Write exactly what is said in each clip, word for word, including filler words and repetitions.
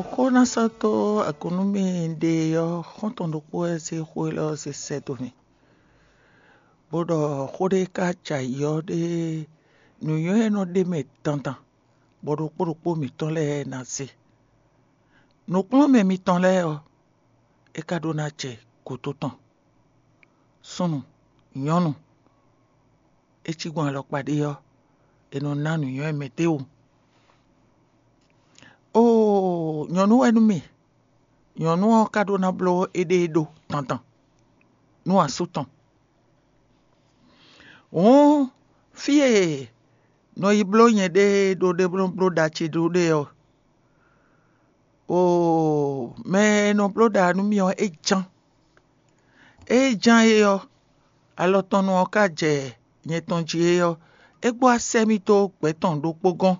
Xó ná sɔ́ dó agun nú mì ɖe ɔ́, xɔ́ntɔn ɖokpó wɛ zé xó élɔ́ ɔ́ zé sɛ́ dó mì, bó ɖɔ xó ɖé ka jɛ ayǐ ɔ́ ɖé, nǔnywɛ́ e nɔ ɖ'é mɛ dandan, bɔ ɖokpó ɖokpó mǐtɔn lɛ́ɛ ná se. Nǔkplɔ́nmɛ mitɔn lɛ́ɛ ɔ́, é ka ɖó ná jɛ gǔdo tɔn. Súnnu, nyɔ̌nu, é cí gbɔn alɔkpa ɖé ɔ́, è nɔ ná nǔnywɛ́ mɛ d'é wú. Oo, nyɔ̌nu wɛ nú mì; nyɔ̌nu ɔ́ ka ɖó ná bló éɖée ɖó dandan nú asú tɔn. Hǔn fí e nɔ yi bló nyɛɖée ɖó ɖe bó nɔ bló ɖa ce ɖó ɖe ɔ́, oo, mɛ e nɔ bló ɖa nú mì ɔ́, é ján. Ée ján é ɔ́, alɔ tɔn nu ɔ́ ka jɛ nyɛ tɔn jí é ɔ́, é gbɔ asɛ mì dó gbɛ̌ tɔn ɖokpó gɔ́n,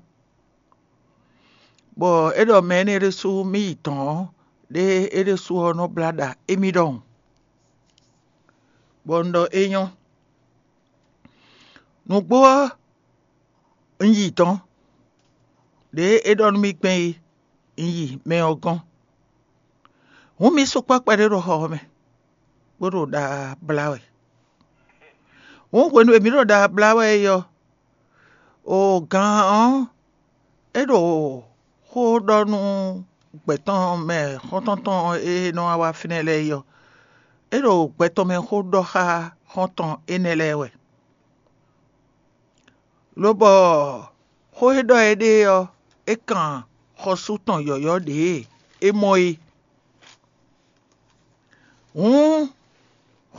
bɔ é ɖɔ mɛ énɛ́ ɖésú mì yi dɔ̌n ɔ́, ɖé é ɖésú ɔ́ nɔ blá ɖa émí ɖɔhun, bɔ un ɖɔ é nyɔ́. Nǔgbó ɔ́, un yi dɔ̌n, ɖě é ɖɔ nú mì gbɛn é, un yi mɛ ɔ́ gɔ́n. Hǔn mǐ sukpɔ́ kpɛɖé ɖo xɔ ɔ́ mɛ, bó ɖo ɖa blá wɛ. Hǔn hwenu e mǐ ɖo ɖa blá wɛ é ɔ́, o gan ɔ́, é ɖo xó ɖɔ nú gbɛ̌ tɔn mɛ xɔ́ntɔn tɔn e nɔ wá fínɛ́ lɛ́ɛ é ɔ́, é ɖo gbɛ tɔn mɛ xó ɖɔ xá xɔ́ntɔn énɛ́ lɛ́ɛ wɛ. Lobɔ xó e ɖɔ é ɖe ɔ́, é kan xɔsú tɔn yɔ̌yɔ́ ɖě é mɔ é. Hǔn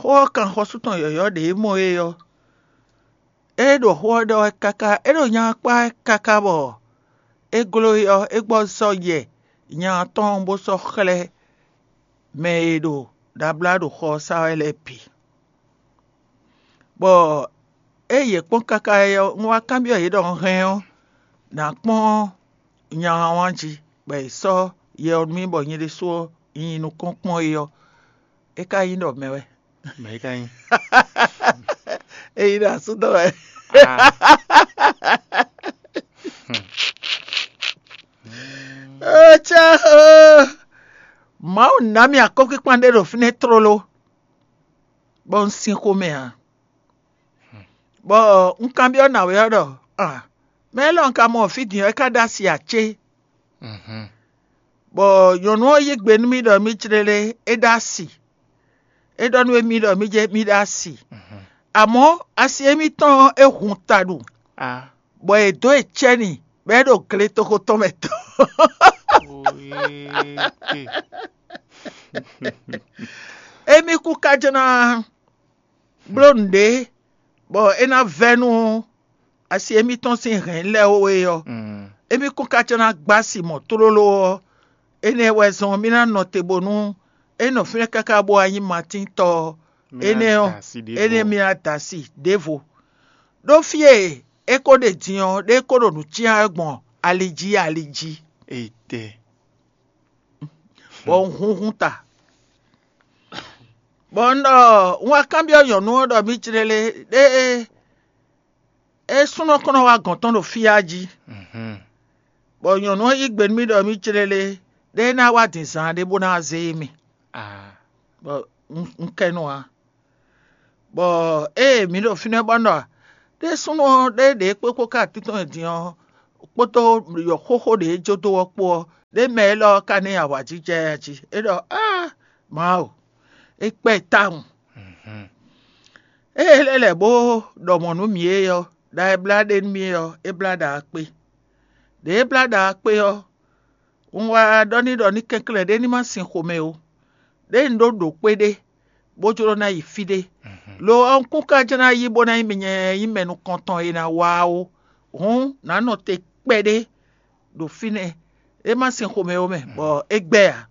xó ɔ́ kan xɔsú tɔn yɔ̌yɔ́ ɖě é mɔ é ɔ́, é ɖo xó ɔ́ ɖɔ wɛ káká, é ɖo nya ɔ́ kpá wɛ káká bɔ é gló é ɔ́, é gbɔ zɔ́ yɛ nya ɔ́ tɔn bó sɔ́ xlɛ́ mɛ e ɖo ɖablá ɖo xɔ ɔ́ sá wɛ lɛ́ɛ bǐ. Bɔ ée yě kpɔ́n káká é ɔ́, un wá kanbyɔ́ yě ɖɔ un hɛn ɔ́, nǎ kpɔ́n nya ɔ́ wán jí, bɔ è sɔ́ yɛ ɔ́ nú mì bɔ nyɛ ɖésú ɔ́, un nyi nukɔn kpɔ́n é ɔ́, é ka nyí ɖɔ mɛ wɛ. Mɛ é ka nyí? É nyí ɖo asú dɔn wɛ. Ah. Étɛ́ Mawu ná mì akɔ́kíkpan ɖé ɖo fínɛ́ tlóló, bɔ un sin xomɛ ǎ. Bɔ un kanbyɔ́ nǎwe ɔ́ ɖɔ: "A, mɛ élɔ́ un ka mɔ fí din ɔ́, é ka ɖó asi ǎ cé?" Bɔ nyɔ̌nu ɔ́ yí gbe nú mì ɖɔ mì clélé é ɖó asi. É ɖɔ nú émí ɖɔ mì jɛ mì ɖó asi. Amɔ̌ asi émítɔn ɔ́, é hun ta ɖu, bɔ è dǒ e cɛ́ n'i, bɔ é ɖo gletoxo tɔn mɛ tɔn. Émí kú ká jɛ́n ná bló nǔɖé, bɔ é ná vɛ́ nú asi émítɔn sín hɛ̌n lɛ́ɛ ó é ɔ́, émí kún ka jɛ́n ná gbá asi mɔ̌ tlóló ɔ́, énɛ́ wɛ zɔ́n mì ná nɔ te bónú é nɔ fínɛ́ káká bó wá nyí Matín tɔ́ ɔ́, énɛ́ ɔ́, énɛ́ mì ná da asi ɖěvo. Ɖó fí e é ko ɖe din ɔ́, ɖé ko ɖo nǔ cyán wɛ gbɔn ali jí ali jí. Etɛ. Bɔ un hunhun ta. Bɔ un ɖɔ un wá kanbyɔ́ nyɔ̌nu ɔ́ ɖɔ mì clélé ɖé é súnnu ɔ́ kɔn nɔ wá gɔ̌n tɔn ɖo fí a jí. Bɔ nyɔ̌nu ɔ́ yí gbe nú mì ɖɔ mì clélé ɖé é ná wá din zaan ɖé bó ná wá zé mì. Bɔ un kɛ nu ǎ. Bɔ ée mǐ ɖo fínɛ́ bɔ un ɖɔ ɖé súnnu ɔ́ ɖé ɖě kpó kpó ká títɔn e din ɔ́ kpódó yɔ̌xóxó ɖě jó dó ɔ́ kpó ɔ́, ɖé mɛ élɔ́ ɔ́ ka ná nyi awǎjijɛ jí. É ɖɔ: "Áa, Mawu, é kpɛ́ tawun." Ée é lɛ́ lɛ̌ bó ɖɔ mɔ̌ nú mǐ é ɔ́, ɖa e blá ɖe nú mì é ɔ́, é blá ɖa ɔ́ kpé. Ɖě é blá ɖa ɔ́ kpé ɔ́, un wá ɖɔ n'i ɖɔ ní kɛnklɛ́n ɖé ní ma sin xomɛ ó. Ɖěe un ɖó ɖǒ kpéɖé, bó jló ná yi fí ɖé. Lo ɔ́, un kún ka jló ná yi bó ná nyí mɛ nyɛ nyí mɛ nukɔntɔn e ná wá ó. Hǔn, nǎ nɔ te kpɛɖé ɖo fínɛ́. É ma sin xomɛ ó mɛ, bɔ é gbɛ́ ǎ.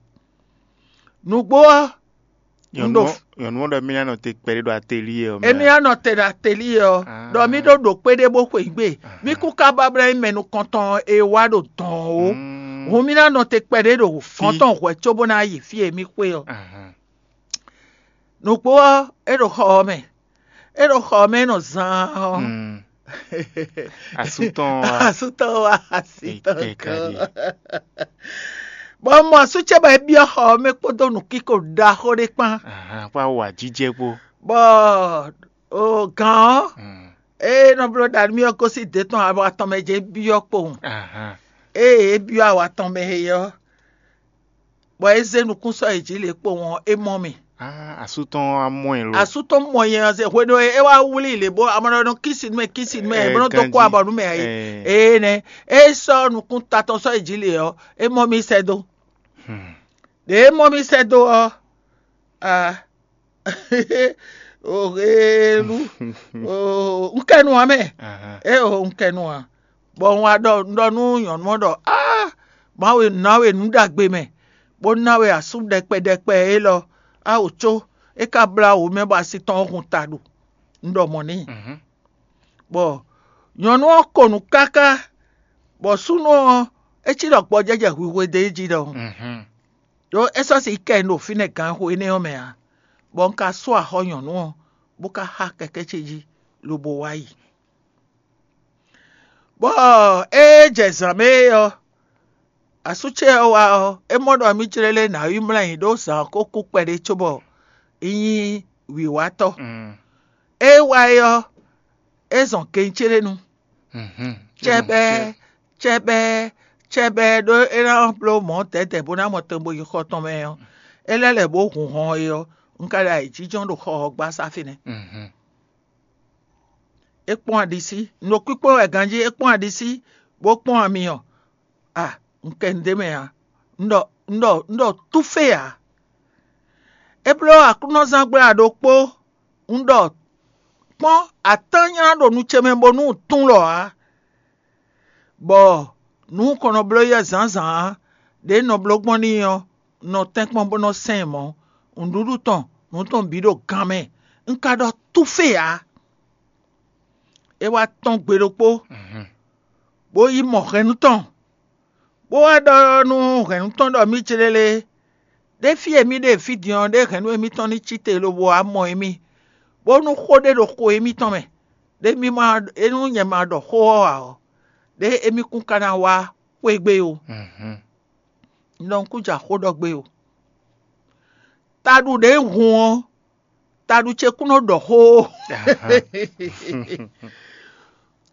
Nǔgbó ɔ́, un ɖo Nyɔ̌nu ɔ́ ɖɔ mì ná nɔ te kpɛɖé ɖo atelier ɔ́ mɛ. Émí ná nɔ te ɖo atelier ɔ́, ɖɔ mì ɖó ɖǒ kpéɖé bó xwe gbé. Mì kún ka ba blɛ́ nyí mɛ nukɔntɔn e wá ɖo dɔ̌n ó. Hǔn mì ná nɔ te kpɛɖé ɖo gɔ̌n tɔn hwɛ̌ cóbó ná yi fí e mì xwe ɔ́. Nǔgbó ɔ́, é ɖo xɔ ɔ́ mɛ. É ɖo xɔ ɔ́ mɛ é nɔ zaan ɔ́. Asú tɔn wá. Asú tɔn wá asi tɔn gɔ́n. Bɔ un mɔ asú ce bɔ é byɔ́ xɔ ɔ́ mɛ kpódó nǔkíko ɖaxó ɖé kpán. Ahán, kpó awu ajijɛ kpó. Bɔ o gǎn ɔ́, ée nɔ bló ɖa nú mì ɔ́ gosín dě tɔn awa tɔn mɛ jɛ́n byɔ́ kpowun. Ahán. Ée é byɔ́ awa tɔn mɛ é ɔ́, bɔ é zé nukún sɔ́ yi jǐ lě kpowun ɔ́, é mɔ mì. Ah, asú tɔn wá mɔ ɛ lo. Asú tɔn mɔ nyɛ ɔ́ zɛ hwenu e é wá wlí lě bó amɔ̌ nɔ kísi nú mɛ kísi nú mɛ É, bó nɔ dó kó ganjí. Abɔ nú mɛ ǎ é. Ee. Ee nɛ́, é sɔ́ nukún ta tɔn sɔ́ yi jǐ lě ɔ́, é mɔ mì sɛ́ dó. Hmm. Ɖě é mɔ mì sɛ́ dó ɔ́, a o helu o un kɛ nu ǎ mɛ. Ahán. É o un kɛ nu ǎ. Bɔ un wá ɖɔ un ɖɔ nú nyɔ̌nu ɔ́ ɖɔ: "Á, Mawu e ná we nǔ ɖagbe mɛ, bó ná we asú ɖɛkpɛ ɖɛkpɛ élɔ́, á wǒ có é ka blá wǒ mɛ bɔ asi tɔn ɔ́ hun ta ɖu." Un ɖɔ mɔ̌ n'i. Mhm. Bɔ nyɔ̌nu ɔ́ ko nǔ káká, bɔ súnnu ɔ́, é cí ɖɔ gbɔjɛ́jɛ hwihwe dó é jí ɖɔhun. Mhm. Ɖó é sɔ́ si kɛ un ɖo fínɛ́ gǎn xo énɛ́ ɔ́ mɛ ǎ, bɔ un ka sú axɔ nyɔ̌nu ɔ́, bó ka xá kɛkɛ́ ce jí, lobo wá yi. Bɔ ée jɛ zǎn mɛ é ɔ́, asú ce ɔ́ wá ɔ́, é mɔ ɖɔ mì jlɛ́ lé nǎ yi mlɔ́ ayǐ ɖó zǎn ɔ́ ko kú kpɛɖé cóbɔ é nyí wǐwátɔ́. Mm. É wá é ɔ́, é zɔn gɛn ce ɖé nu. Mhm. Cɛbɛɛ, cɛbɛɛ, cɛbɛɛ ɖó é ná bló mɔ̌ dɛ̌dɛ̌ bó ná mɔ tɛn bo yi xɔ tɔn mɛ ɔ́, é lɛ́ lɛ̌ bó hun hɔn é ɔ́, un ka ɖo ayǐjínjɔ́n ɖo xɔ ɔ́ gbá sá fínɛ́. Mhm. É kpɔ́n aɖisí, un ɖo kpíkpɔ́n wɛ ganjí, é kpɔ́n aɖisí, bó kpɔ́n ami ɔ́. A, un kɛ nǔɖé mɛ ǎ. Un ɖɔ un ɖɔ un ɖɔ túfé ǎ. É bló aklúnɔzángbla ɖokpó, un ɖɔ kpɔ́n atán nylá ɖo nu ce mɛ bónú un tún lɔ ǎ. Bɔ nǔ kɔn nɔ bló yɛ zǎnzǎn ǎ, ɖě un nɔ bló gbɔn n'i ɔ́, un nɔ tɛ́nkpɔ́n bó nɔ sɛn ɛ mɔ̌. Nǔɖuɖu tɔn, nǔ tɔn bǐ ɖo gan mɛ. Un ka ɖɔ túfé ǎ. É wá tɔ́n gbe ɖokpó, bó yi mɔ hɛ̌nnu tɔn, bó wá ɖɔ nú hɛ̌nnu tɔn ɖɔ mì céɖélé, ɖé fí e mì ɖe fí din ɔ́, ɖé hɛ̌nnu émítɔn ní cí te lobo wá mɔ émí, bónú xó ɖé ɖo xo émítɔn mɛ, ɖé mì ma é nú nyɛ ma ɖɔ xó ɔ́ ǎ ɔ́, ɖé émí kún ka ná wá xwé gbe ó. Un ɖɔ un kún ja xó ɖɔ gbé ó. Taɖu ɖě un hun ɔ́, taɖu ce kún nɔ ɖɔ xó ó.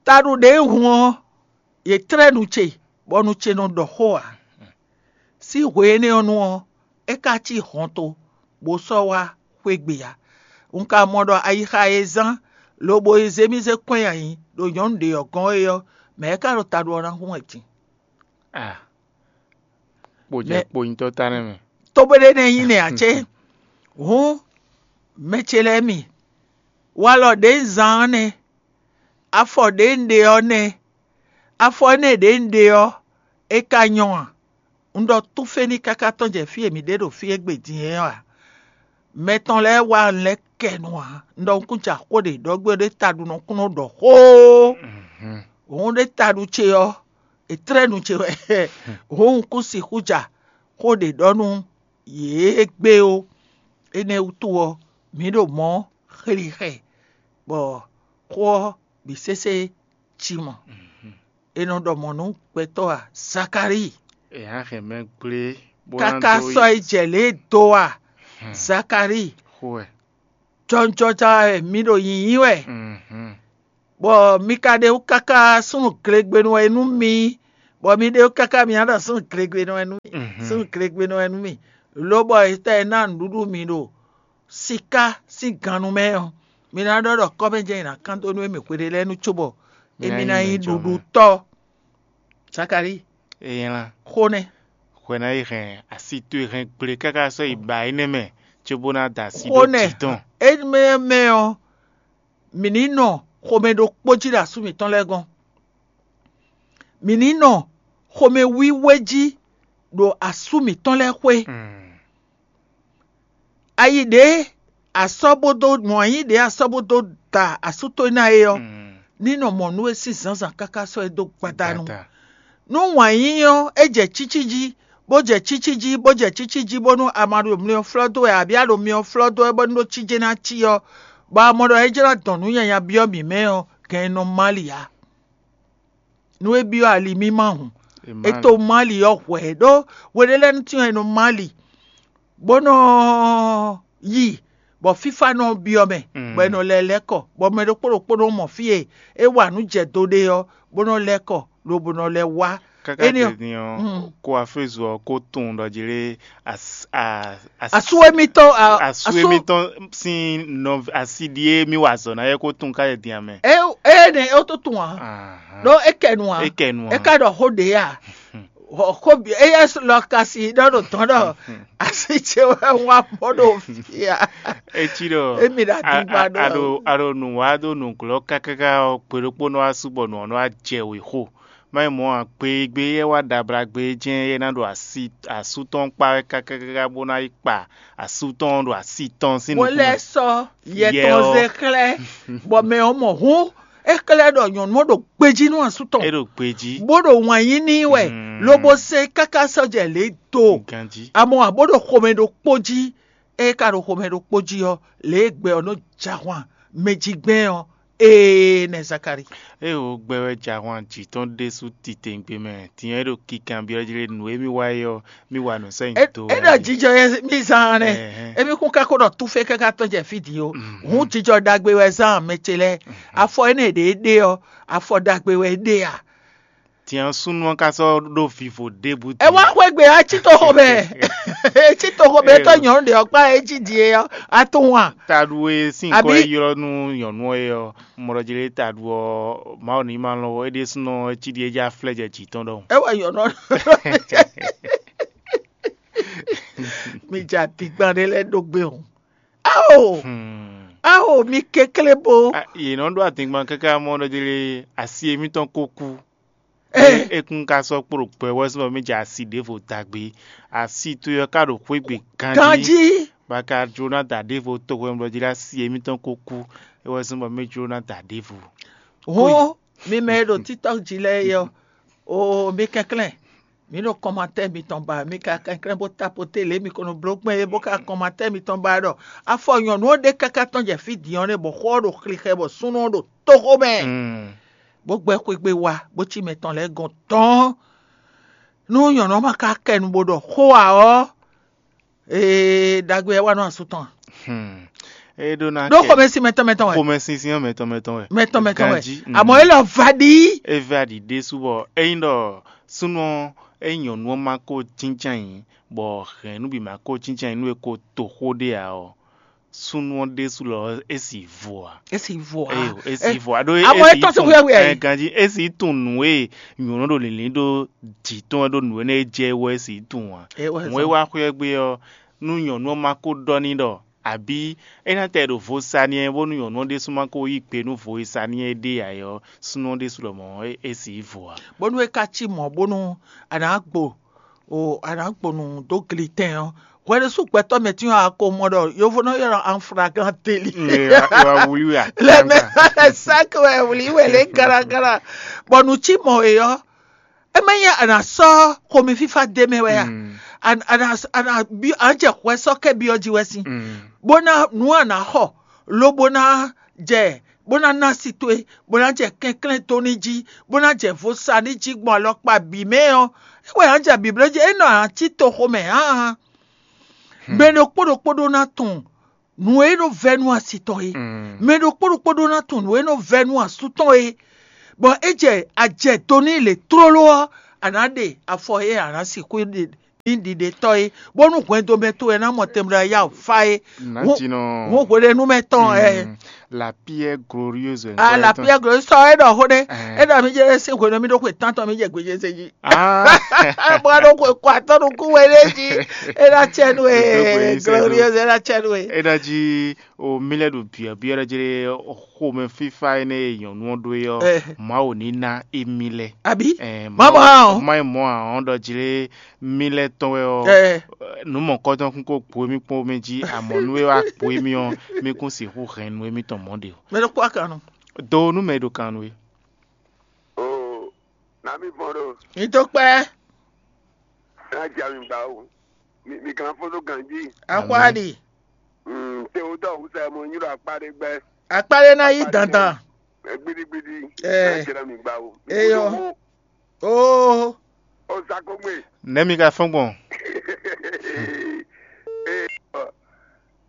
Taɖu ɖě un hun ɔ́, yě tlɛ́ nu ce, bɔ nu ce nɔ ɖɔ xó ǎ. Sín hwe énɛ́ ɔ́ nu ɔ́, é ka cí hɔnto, bó sɔ́ wá xwé gbe ǎ. Un ka mɔ ɖɔ ayixa e zán, lobo e zé mì zé kɔn nyi ayǐ ɖo nyɔ̌nu ɖě ɔ́ gɔ́n é ɔ́, mɛ̌ ka ɖo taɖu ɔ́ ná hun wɛ din? Ah. Kpo jɛ Mɛ- kpo nyitɔ́ ta nɛ́ mɛ. Togbéɖé nɛ́ nyí nɛ́ ǎ cé? Hǔn, mɛ ce lɛ́ɛ mi, walɔ ɖě un zán ɔ́ nɛ́, afɔ ɖě un ɖe ɔ́ nɛ́, afɔ énɛ́ ɖě un ɖe ɔ́, é ka nyɔ́ a? Un ɖɔ túféní káká tɔn jɛ fí e mǐ ɖe ɖo fí égbé din é ɔ́ a? Mɛ tɔn lɛ́ɛ wá un lɛ́ kɛ nu ǎ. Un ɖɔ un kún ja xó ɖě ɖɔ gbé ɖé taɖunɔ kún nɔ ɖɔ xóó. Hǔn ɖé taɖu ce ɔ́, è tlɛ́ nu ce wɛ. Hǔn un kún sixú ja xó ɖě ɖɔ nú yě gbé ó. Énɛ́ wútu ɔ́, mǐ ɖo mɔ̌ xlixɛ, bɔ xó ɔ́ bǐ sésé cí mɔ. È nɔ ɖɔ mɔ̌ nú gbɛtɔ́ a? Zakalíi. È hɛn mɛ gblé bó ná káká dó sɔ́ yi jɛ lě e do a? Zakalíi. Xó wɛ. Jɔnjɔja wɛ mi ɖo yǐyí wɛ, bɔ mi ka ɖe wú káká súnnu glegbenu wɛ nú mi, bɔ mi ɖe wú káká mi ná ɖɔ súnnu glegbenu wɛ nú mi. Súnnu glegbenu wɛ nú mi, lobɔ etɛ́ e ná nǔɖuɖu mi ɖo siká sín gannu mɛ ɔ́, mi ná ɖɔ ɖɔ kɔ́mɛjɛ nyi ná kán dó nú émí hweɖé lɛ́ɛ nu cóbɔ émí ná nyí ɖuɖutɔ́. Zakalíi, é nylá xó nɛ́. Hwɛ ná yi hɛn asi towe hɛn gble káká sɔ́ yi ba énɛ́ mɛ, cóbó ná da asi xó ɖó nɛ́ jǐ tɔn. Énɛ́ mɛ ɔ́, mǐ ní nɔ xomɛ ɖokpó jí ɖo asú mǐtɔn lɛ́ɛ gɔ́n. Mǐ ní nɔ xomɛ wíwé jí ɖo asú mǐtɔn lɛ́ɛ xwé. Ayi ɖě a sɔ́ bó dó mɔ ayǐ ɖě a sɔ́ bó dó da asú towe ná é ɔ́, ní nɔ mɔ nú we sín zǎnzǎn káká sɔ́ ɛ dó gbadanu. Nú wǎn yíyí ɔ́, é jɛ cící jí, bó jɛ cící jí, bó jɛ cící jí, bónú a ma ɖo myɔ flɔ́ dó wɛ, abǐ a ɖo myɔ flɔ́ dó wɛ, bónú ɖó cije ná cí ɔ́, bɔ a mɔ ɖɔ é jló dɔn nǔ nyanya byɔ́ mǐ mɛ ɔ́, gɛn e nɔ má li ǎ. Nú é byɔ́ ali mì ma hǔn, E to Mali ɔ́ hwɛ̌ ɖó hweɖé lɛ́ɛ nú cyɔ́n e nɔ Mali, bó nɔ yi, bɔ fífá nɔ byɔ́ mɛ, bɔ è nɔ lɛ́ lɛ́ kɔ, bɔ mɛ ɖokpó ɖokpó nɔ mɔ fí e é wa nǔ jɛ do ɖe ɔ́, bó nɔ lɛ́ kɔ, lobo nɔ lɛ́ wá. Káká Énɛ́ ɔ́, din ɔ́, ko afézu ɔ́ ko tunwun ɖɔ jí lé as- a- as- asú émítɔn a- asú asú émítɔn sín nɔ asi ɖíe mì wa azɔ̌ ná é ko tunwun ká yɛ din amɛ. É énɛ́ é tó tunwun ǎ. Ahán. Ɖó é kɛ nu ǎ. É kɛ nu ǎ. É ka ɖɔ xó ɖě a? Xó éyɛ́ lɔ ka si ɖɔ ɖo tɔn ɖɔ asi ce wɛ wá mɔ ɖo fia. Etí ɖɔ Emi ɖo adigba ɖo a- a- aɖo aɖo nǔ wá ɖo nǔglɔ́ kákáká ɔ́, gbe ɖokpó nɔ wá sú bɔ nǔ ɔ́ nɔ wá jɛ wě xo. Má nyí mɔ̌ ǎ, gbe e gbe éyɛ́ wá ɖablagbe é jɛ́n é ná ɖo asi asú tɔn kpa wɛ kákákáká bó ná yi kpa asú tɔn ɖo asi tɔn sín Bó nukún lɛ́ mɛ. Sɔ́ yɛ Yɛ tɔn ɔ́. Zé xlɛ́, bɔ mɛ ɔ́ mɔ hǔn é xlɛ́ ɖɔ nyɔ̌nu ɔ́ ɖo gbejí nú asú tɔn, É ɖo gbejí. Bó ɖo wǎn yí n'i wɛ, Mm. Lobo se káká sɔ́ jɛ lě do. Ganjí. Amɔ ǎ bó ɖo xomɛ ɖokpó jí, é ka ɖo xomɛ ɖokpó jí ɔ́, lě e gbɛ ɔ́ nɔ jɛ ahwan mɛ jí gbɛn ɔ́, ee nɛ Zakari. Ée wǒ gbɛ wɛ jɛ ahwan jǐ tɔn ɖésú titewungbe mɛ, din ɔ́ é ɖo kikanbyɔ́ jí lé nǔ e mì wa é ɔ́, mì wa nǔ sɛ́ nyi É do é wɛ ɖɔ jí. Jijɔ yɛ mì zán nɛ. Ɛhɛn. Émí kún ka ko ɖɔ túfé káká tɔn jɛ fí din ó. Mhm. Hǔn jijɔ ɖagbe wɛ zán mɛ ce lɛ́ɛ. Afɔ énɛ́ ɖě é ɖe ɔ́, afɔ ɖagbe wɛ é ɖe a? Din ɔ́ súnnu ɔ́ ka sɔ́ ɖó vivo ɖěbǔ É wá din. Xwé gbe a cí toxo mɛ. É cí toxo mɛ Ée tɔ́ o. Nyɔ̌nu ɖě ɔ́ kpá é jí din é ɔ́, a tunwun a? Taɖu e sín Abí- kɔ e ylɔ́ nú nyɔ̌nu ɔ́ é ɔ́, mɔ ɖɔ jí lé taɖu ɔ́, Mawu ní ma lɔn é ɖésúnɔ é cí ɖi é já flɛ́ jɛ jǐ tɔn ɖɔhun. É wɛ nyɔ̌nu ɔ́. Mi jɛ adigban ɖé lɛ́ɛ ɖó gbé o. Ao! Hmm. Ao, mi kɛnklɛ́n bo. A- Yě nɔ ɖó adingban káká mɔ ɖɔ jí lé asi émítɔn ko kú. Ɛ. É kún ka sɔ́ kpló gbɛ wɛ sín bɔ mì jɛ asi ɖěvo dagbe. Asi towe ɔ́ ka ɖo xwé gbe ganjí. Ganjí. Bɔ a ka jló ná da ɖěvo tohwɛmlɔ jí ɖo asi émítɔn ko kú. É wɛ sín bɔ mì jló ná da ɖěvo. Hɔn mi mɛ e ɖo TikTok jí lɛ́ɛ é ɔ́, o mi kɛnklɛ́n. Mi ɖo kɔmatɛ́ mitɔn ba, mi ka kɛnklɛ́n bó tapoté lě mi ko nɔ bló gbɛn é bó ka kɔmatɛ́ mitɔn ba ɖɔ afɔ nyɔ̌nu ɔ́ ɖe káká tɔn jɛ fí din ɔ́ nɛ́ bɔ xó ɔ́ ɖo xlixɛ bɔ súnnu ɔ́ ɖo tóxó mɛ. Mm. Bó gbɛ́ xwé gbe wá, bó cí mɛ tɔn lɛ́ɛ gɔn tɔ́ɔ́n. Nú nyɔ̌nu ɔ́ ma ka kɛ nu bó ɖɔ xó ǎ ɔ́, ee, ɖagbe ɔ́ wá nú asú tɔn. Hmm. É ɖó ná Ɖó kɛ xomɛsin mɛtɔn mɛtɔn wɛ. Xomɛsinsin ɔ́ mɛtɔn mɛtɔn wɛ. Mɛtɔn mɛtɔn wɛ. Ganjí, Àmọ́ mm. É lɔ va ɖi. É va ɖi ɖésú bɔ ényí ɖɔ súnnu ɔ́, ényí nyɔ̌nu ɔ́ ma ko jínján yǐ, bɔ hɛ̌nnu bǐ ma ko jínján yǐ nú é ko to xó ɖé ǎ ɔ́, súnnu ɔ́ ɖésú lɔ é sì vo ǎ. É sì vo ǎ. Eyo, é sì vo ǎ. Ɖó àmọ́ é tɔ́n sí xwíyáwí ɛ. Ganjí é sì tunwun nǔ e nyɔ̌nu ɖo lǐnlín ɖó jǐ tɔn wɛ ɖó nǔ énɛ́ e jɛ é wɛ é sì tunwun ǎ. Hǔn é wá xwíyá gbé ɔ́, nú nyɔ̌nu ɔ́ ma ko ɖɔ n'i ɖɔ abǐ é ná tɛ ɖo vo sa n'i ɛ bónú nyɔ̌nu ɔ́ ɖésú ma ko yí gbe nú vo e sa n'i ɛ ɖe ǎ é ɔ́, súnnu ɔ́ ɖésú lɔmɔ̌ é sì yi vo ǎ. Bónú é ka cí mɔ̌ bónú a nǎ gbo o a nǎ gbo nǔ dó glitɛn ɔ́, hwɛɖésú gbɛtɔ́ mɛ tín ɔ́ a ko mɔ ɖɔ yovónɔ ylɔ́ en flagrant délit. Wá wlí wɛ lɛ mɛ sáké wɛ wlí wɛ lě garagara, bɔ nǔ cí mɔ e ɔ́, é má nyí a nǎ sɔ́ xomɛ fífá d'é mɛ wɛ a? A nǎ a nǎ byɔ́ a nǎ jɛ hwɛ sɔ́ kɛ byɔ́ jí wɛ sín, bó ná nǔ a nǎ xɔ, lobo ná jɛ bó ná ná asi towe, bó ná jɛ kɛnklɛ́n dó ní jí, bó ná jɛ vo sa ní jí gbɔn alɔkpa bǐ mɛ ɔ́, é wɛ a nǎ jɛ bǐbló jí, é nɔ a nǎ cí toxo mɛ hǎn. Mɛ ɖokpó ɖokpó ɖó ná tunwun nǔ e nɔ vɛ́ nú asi tɔn é. Mɛ ɖokpó ɖokpó ɖó ná tunwun nǔ e nɔ vɛ́ nú asú tɔn é. Bɔ é jɛ a jɛ do n'i lě tlóló ɔ́, a nǎ ɖe afɔ e a nǎ sixú ɖe ní ɖiɖetɔ́ é, bónú hwɛndo mɛ towe ná mɔ tɛnmɛ ya fa é. Nǎjínɔ. Hɔn hweɖénúmɛ tɔn ɛ. La pierre glorieuse. Ah, la pierre glorieuse sɔ é ɖɔ xó ɖé. É ɖɔ mi jɛ sín hwenu mi ɖo xwe tántɔn mi jɛ gbèjè se jí. Bó ɖo xwe kɔ atɔ́ nukún wɛ ɖé jí. É ná tsɛ nú é glorieuse é ná tsɛ nú é. É ná jí o mi lɛ ɖo biɔbiɔ ɖe jɛ xomɛ fífá énɛ́ e nyɔ̌nu ɔ́ ɖó é ɔ́, Mawu ní ná émí lɛ́ɛ. Abi? Má mɔ ǎ. Má nyí mɔ ǎ ɔ́ ɖɔ jlé mí lɛ́ɛ tɔn wɛ ɔ́, nǔ mɔ̌kɔtɔn kún kó gbo émí kpɔ́n mɛ jí, amɔ̌ nú é wá gbo émí ɔ́, mí kún sixú hɛn nú émítɔn mɔ̌ ɖe o. Mɛ ɖokpó akannu. Do nú mɛ e ɖo kan nú we. Oo, nǎ mì vɔn ɖo. Ìdókpẹ́. Ná ja mi gbà o. Mi mi kan fɔ́n dó ganjí. Axwáɖi. Mm, te o dɔ wusa mo nyi ɖo akpa ɖé gbɛ. Akpa ɖé ná yí dandan. Gbidigbidi. Ɛ. Ná jɛ mi gbà o. Eyɔ. Oo. O sa ko gbe. Nɛ̌ mi ka fɔ́n gbɔn? Ee,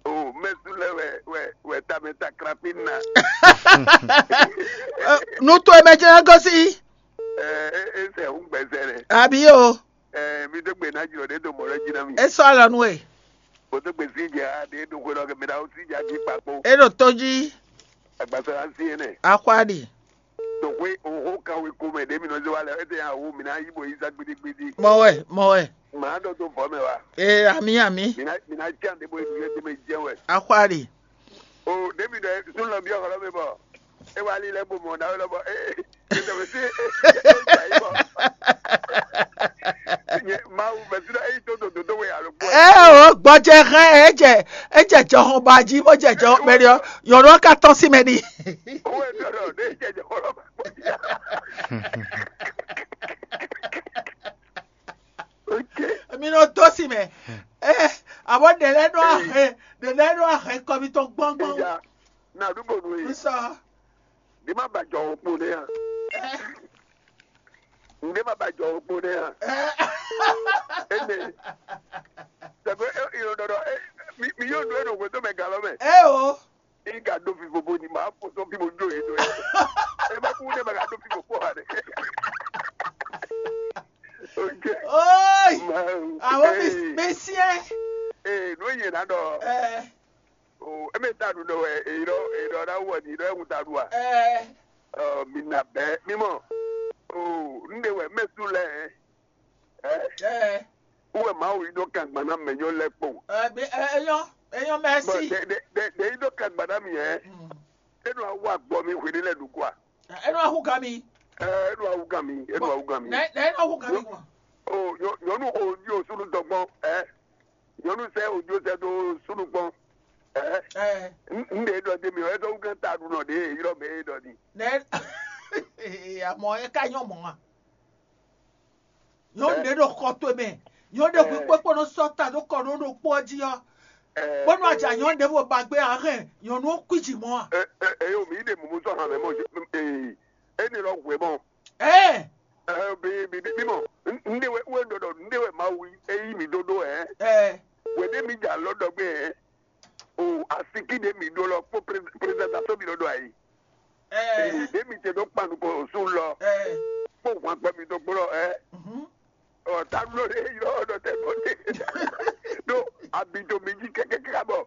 o mɛsu lɛ wɛ wɛ wɛ tamɛ ta krapi na. Nú to e mɛ jɛ́n gosín. Ɛ ɛ sɛ hun gbɛsɛ rɛ. Àbí o, Ɛ mi dó gbe ná jùlɔ ɖé do mɔ lɛ jí ná mi. é sɔ́ alɔ nú we. Mo dó gbe sí jɛ a ɖe do xwe lɔ kɛ mi na o sí jɛ a jí kpakpo. É ɖo tó jí. Agbasa la sí yẹn nɛ. Axwa ɖi. Do xwe o xó kan we ko mɛ ɖe mi nɔ zé wa lɛ. Ete ya wo mi na yi bo yi sa gbidigbidi. Mɔ wɛ, mɔ wɛ. Màá dɔ tó vɔ mɛ wa. Ee, àmì àmì. Mi na mi na jan de bo yi du yɛ tɛmɛ jɛ wɛ. Axwa ɖi. O ɖe mi dɛ sun lɔ bi ɔxɔ lɔ mi bɔ. E wa li lɛ bo mɔ na lɔ bɔ. Ee. Ete mi si. Mawu mɛ si dɔ eyi tó dodo tó we alo kpɔ. Ɛ o, gbɔjɛ hɛn ɛ jɛ ɛ jɛ jɔhɔn ba jí bó jɛ jɔ mɛ ɖi ɔ, yɔrɔ ka tɔn sí mɛ ɖi. Owó ẹ̀ dọ̀dọ̀ ní ìjẹ́jẹ́ ọlọ́pàá pọ̀ jù. Ok. Mi nɔ dó sí mɛ. Ɛ, àbọ̀ ɖe lɛ nɔ ahɛn, ɖe lɛ nɔ ahɛn kɔ mi tɔn gbɔngbɔn. Ìyá nàdúgbò nù yìí. Nsọ. Ní má bàjọ́ òpó ní hàn. Ní má bàjọ́ òpó ní hàn. Ẹnì. Sẹ̀gbẹ́ ìrọ̀dọ̀dọ̀ mi yóò dúró ní òwe tó mẹ gà lọ́mẹ. Ẹ o. Ní ká dó fífo bó ni màá fò tó bí mo jó yìí tó yẹ. Ẹ bá kú ní ẹ bá ká dó fífo bó wà dé. Ok. Oyi. Màá- Àwọn mi Ee, mi sí ẹ. Ee, nú yẹn ná dọ̀. Ẹ O, eme ta ɖu ɖɔ wɛ, eyi ɖɔ, eyi ɖɔ ɖa wɔ ni ɖɔ ewu ta ɖu a. ẹ Ɔ, mi na bɛ, mi mɔ. O, n de wɛ mɛ su lɛ. Ɛ, ẹ wɛ Mawu yi ɖo kan gban na mɛ nyɔ lɛ kpo. ẹ bi ẹ eyɔn eyɔn Bɔn mɛsi. de de de de yi ɖo kan gban na mi ɛ. Enu awu agbɔ mi hwe ɖe lɛ ɖu kua. Enu ahu ga mi. Ɛ, enu awu gan mi, enu awu gan mi. Nɛ nɛ enu ahu ga mi gbɔn. O, nyɔ- nyɔnu o di o sunu dɔgbɔn. Ɛ, nyɔnu sɛ o di o sɛ do sunu gbɔn. Ɛ, Ɛ n n de dɔ de mi o, ɛdɔ wu gan ta ɖu nɔ de yi ɖɔ mɛ yi ɖɔ ni. nɛ amɔ eka nyɔ mɔ wa. Nyɔnu ɖe ɖo xɔ to mɛ. Nyɔnu ɖe hu kpekpe nɔ sɔ ta ɖo kɔ ɖo ɖo kpɔ jí ɔ. Ɛ, Bɔnu adza nyɔnu ɖe bo ba gbé ahɛn nyɔnu ó kui dzi mɔ a. Ɛ, ɛ, ɛ, yo, mi de mumu sɔ hàn mɛ mɔ, ee, eni lɔ hwe mɔ. Ɛ Ɛ, bi bi bi bi mɔ, n de wɛ wɛ dɔ dɔ, n de wɛ Mawu eyi mi dodo ɛ. ɛ Wɛ de mi dza lɔ dɔ gbé ɛ. O asiki de mi do lɔ kpó présentation mi lɔ dɔ ayi. ɛ De mi te do kpanu ko su lɔ. ɛ Kpó hwan gbɛ mi do gbɔ lɔ ɛ. mhm. Ɔ, ta lɔ de yɔ dɔ tɛ bɔ de. Do abi do mi ji kɛkɛ kɛkɛ bɔ.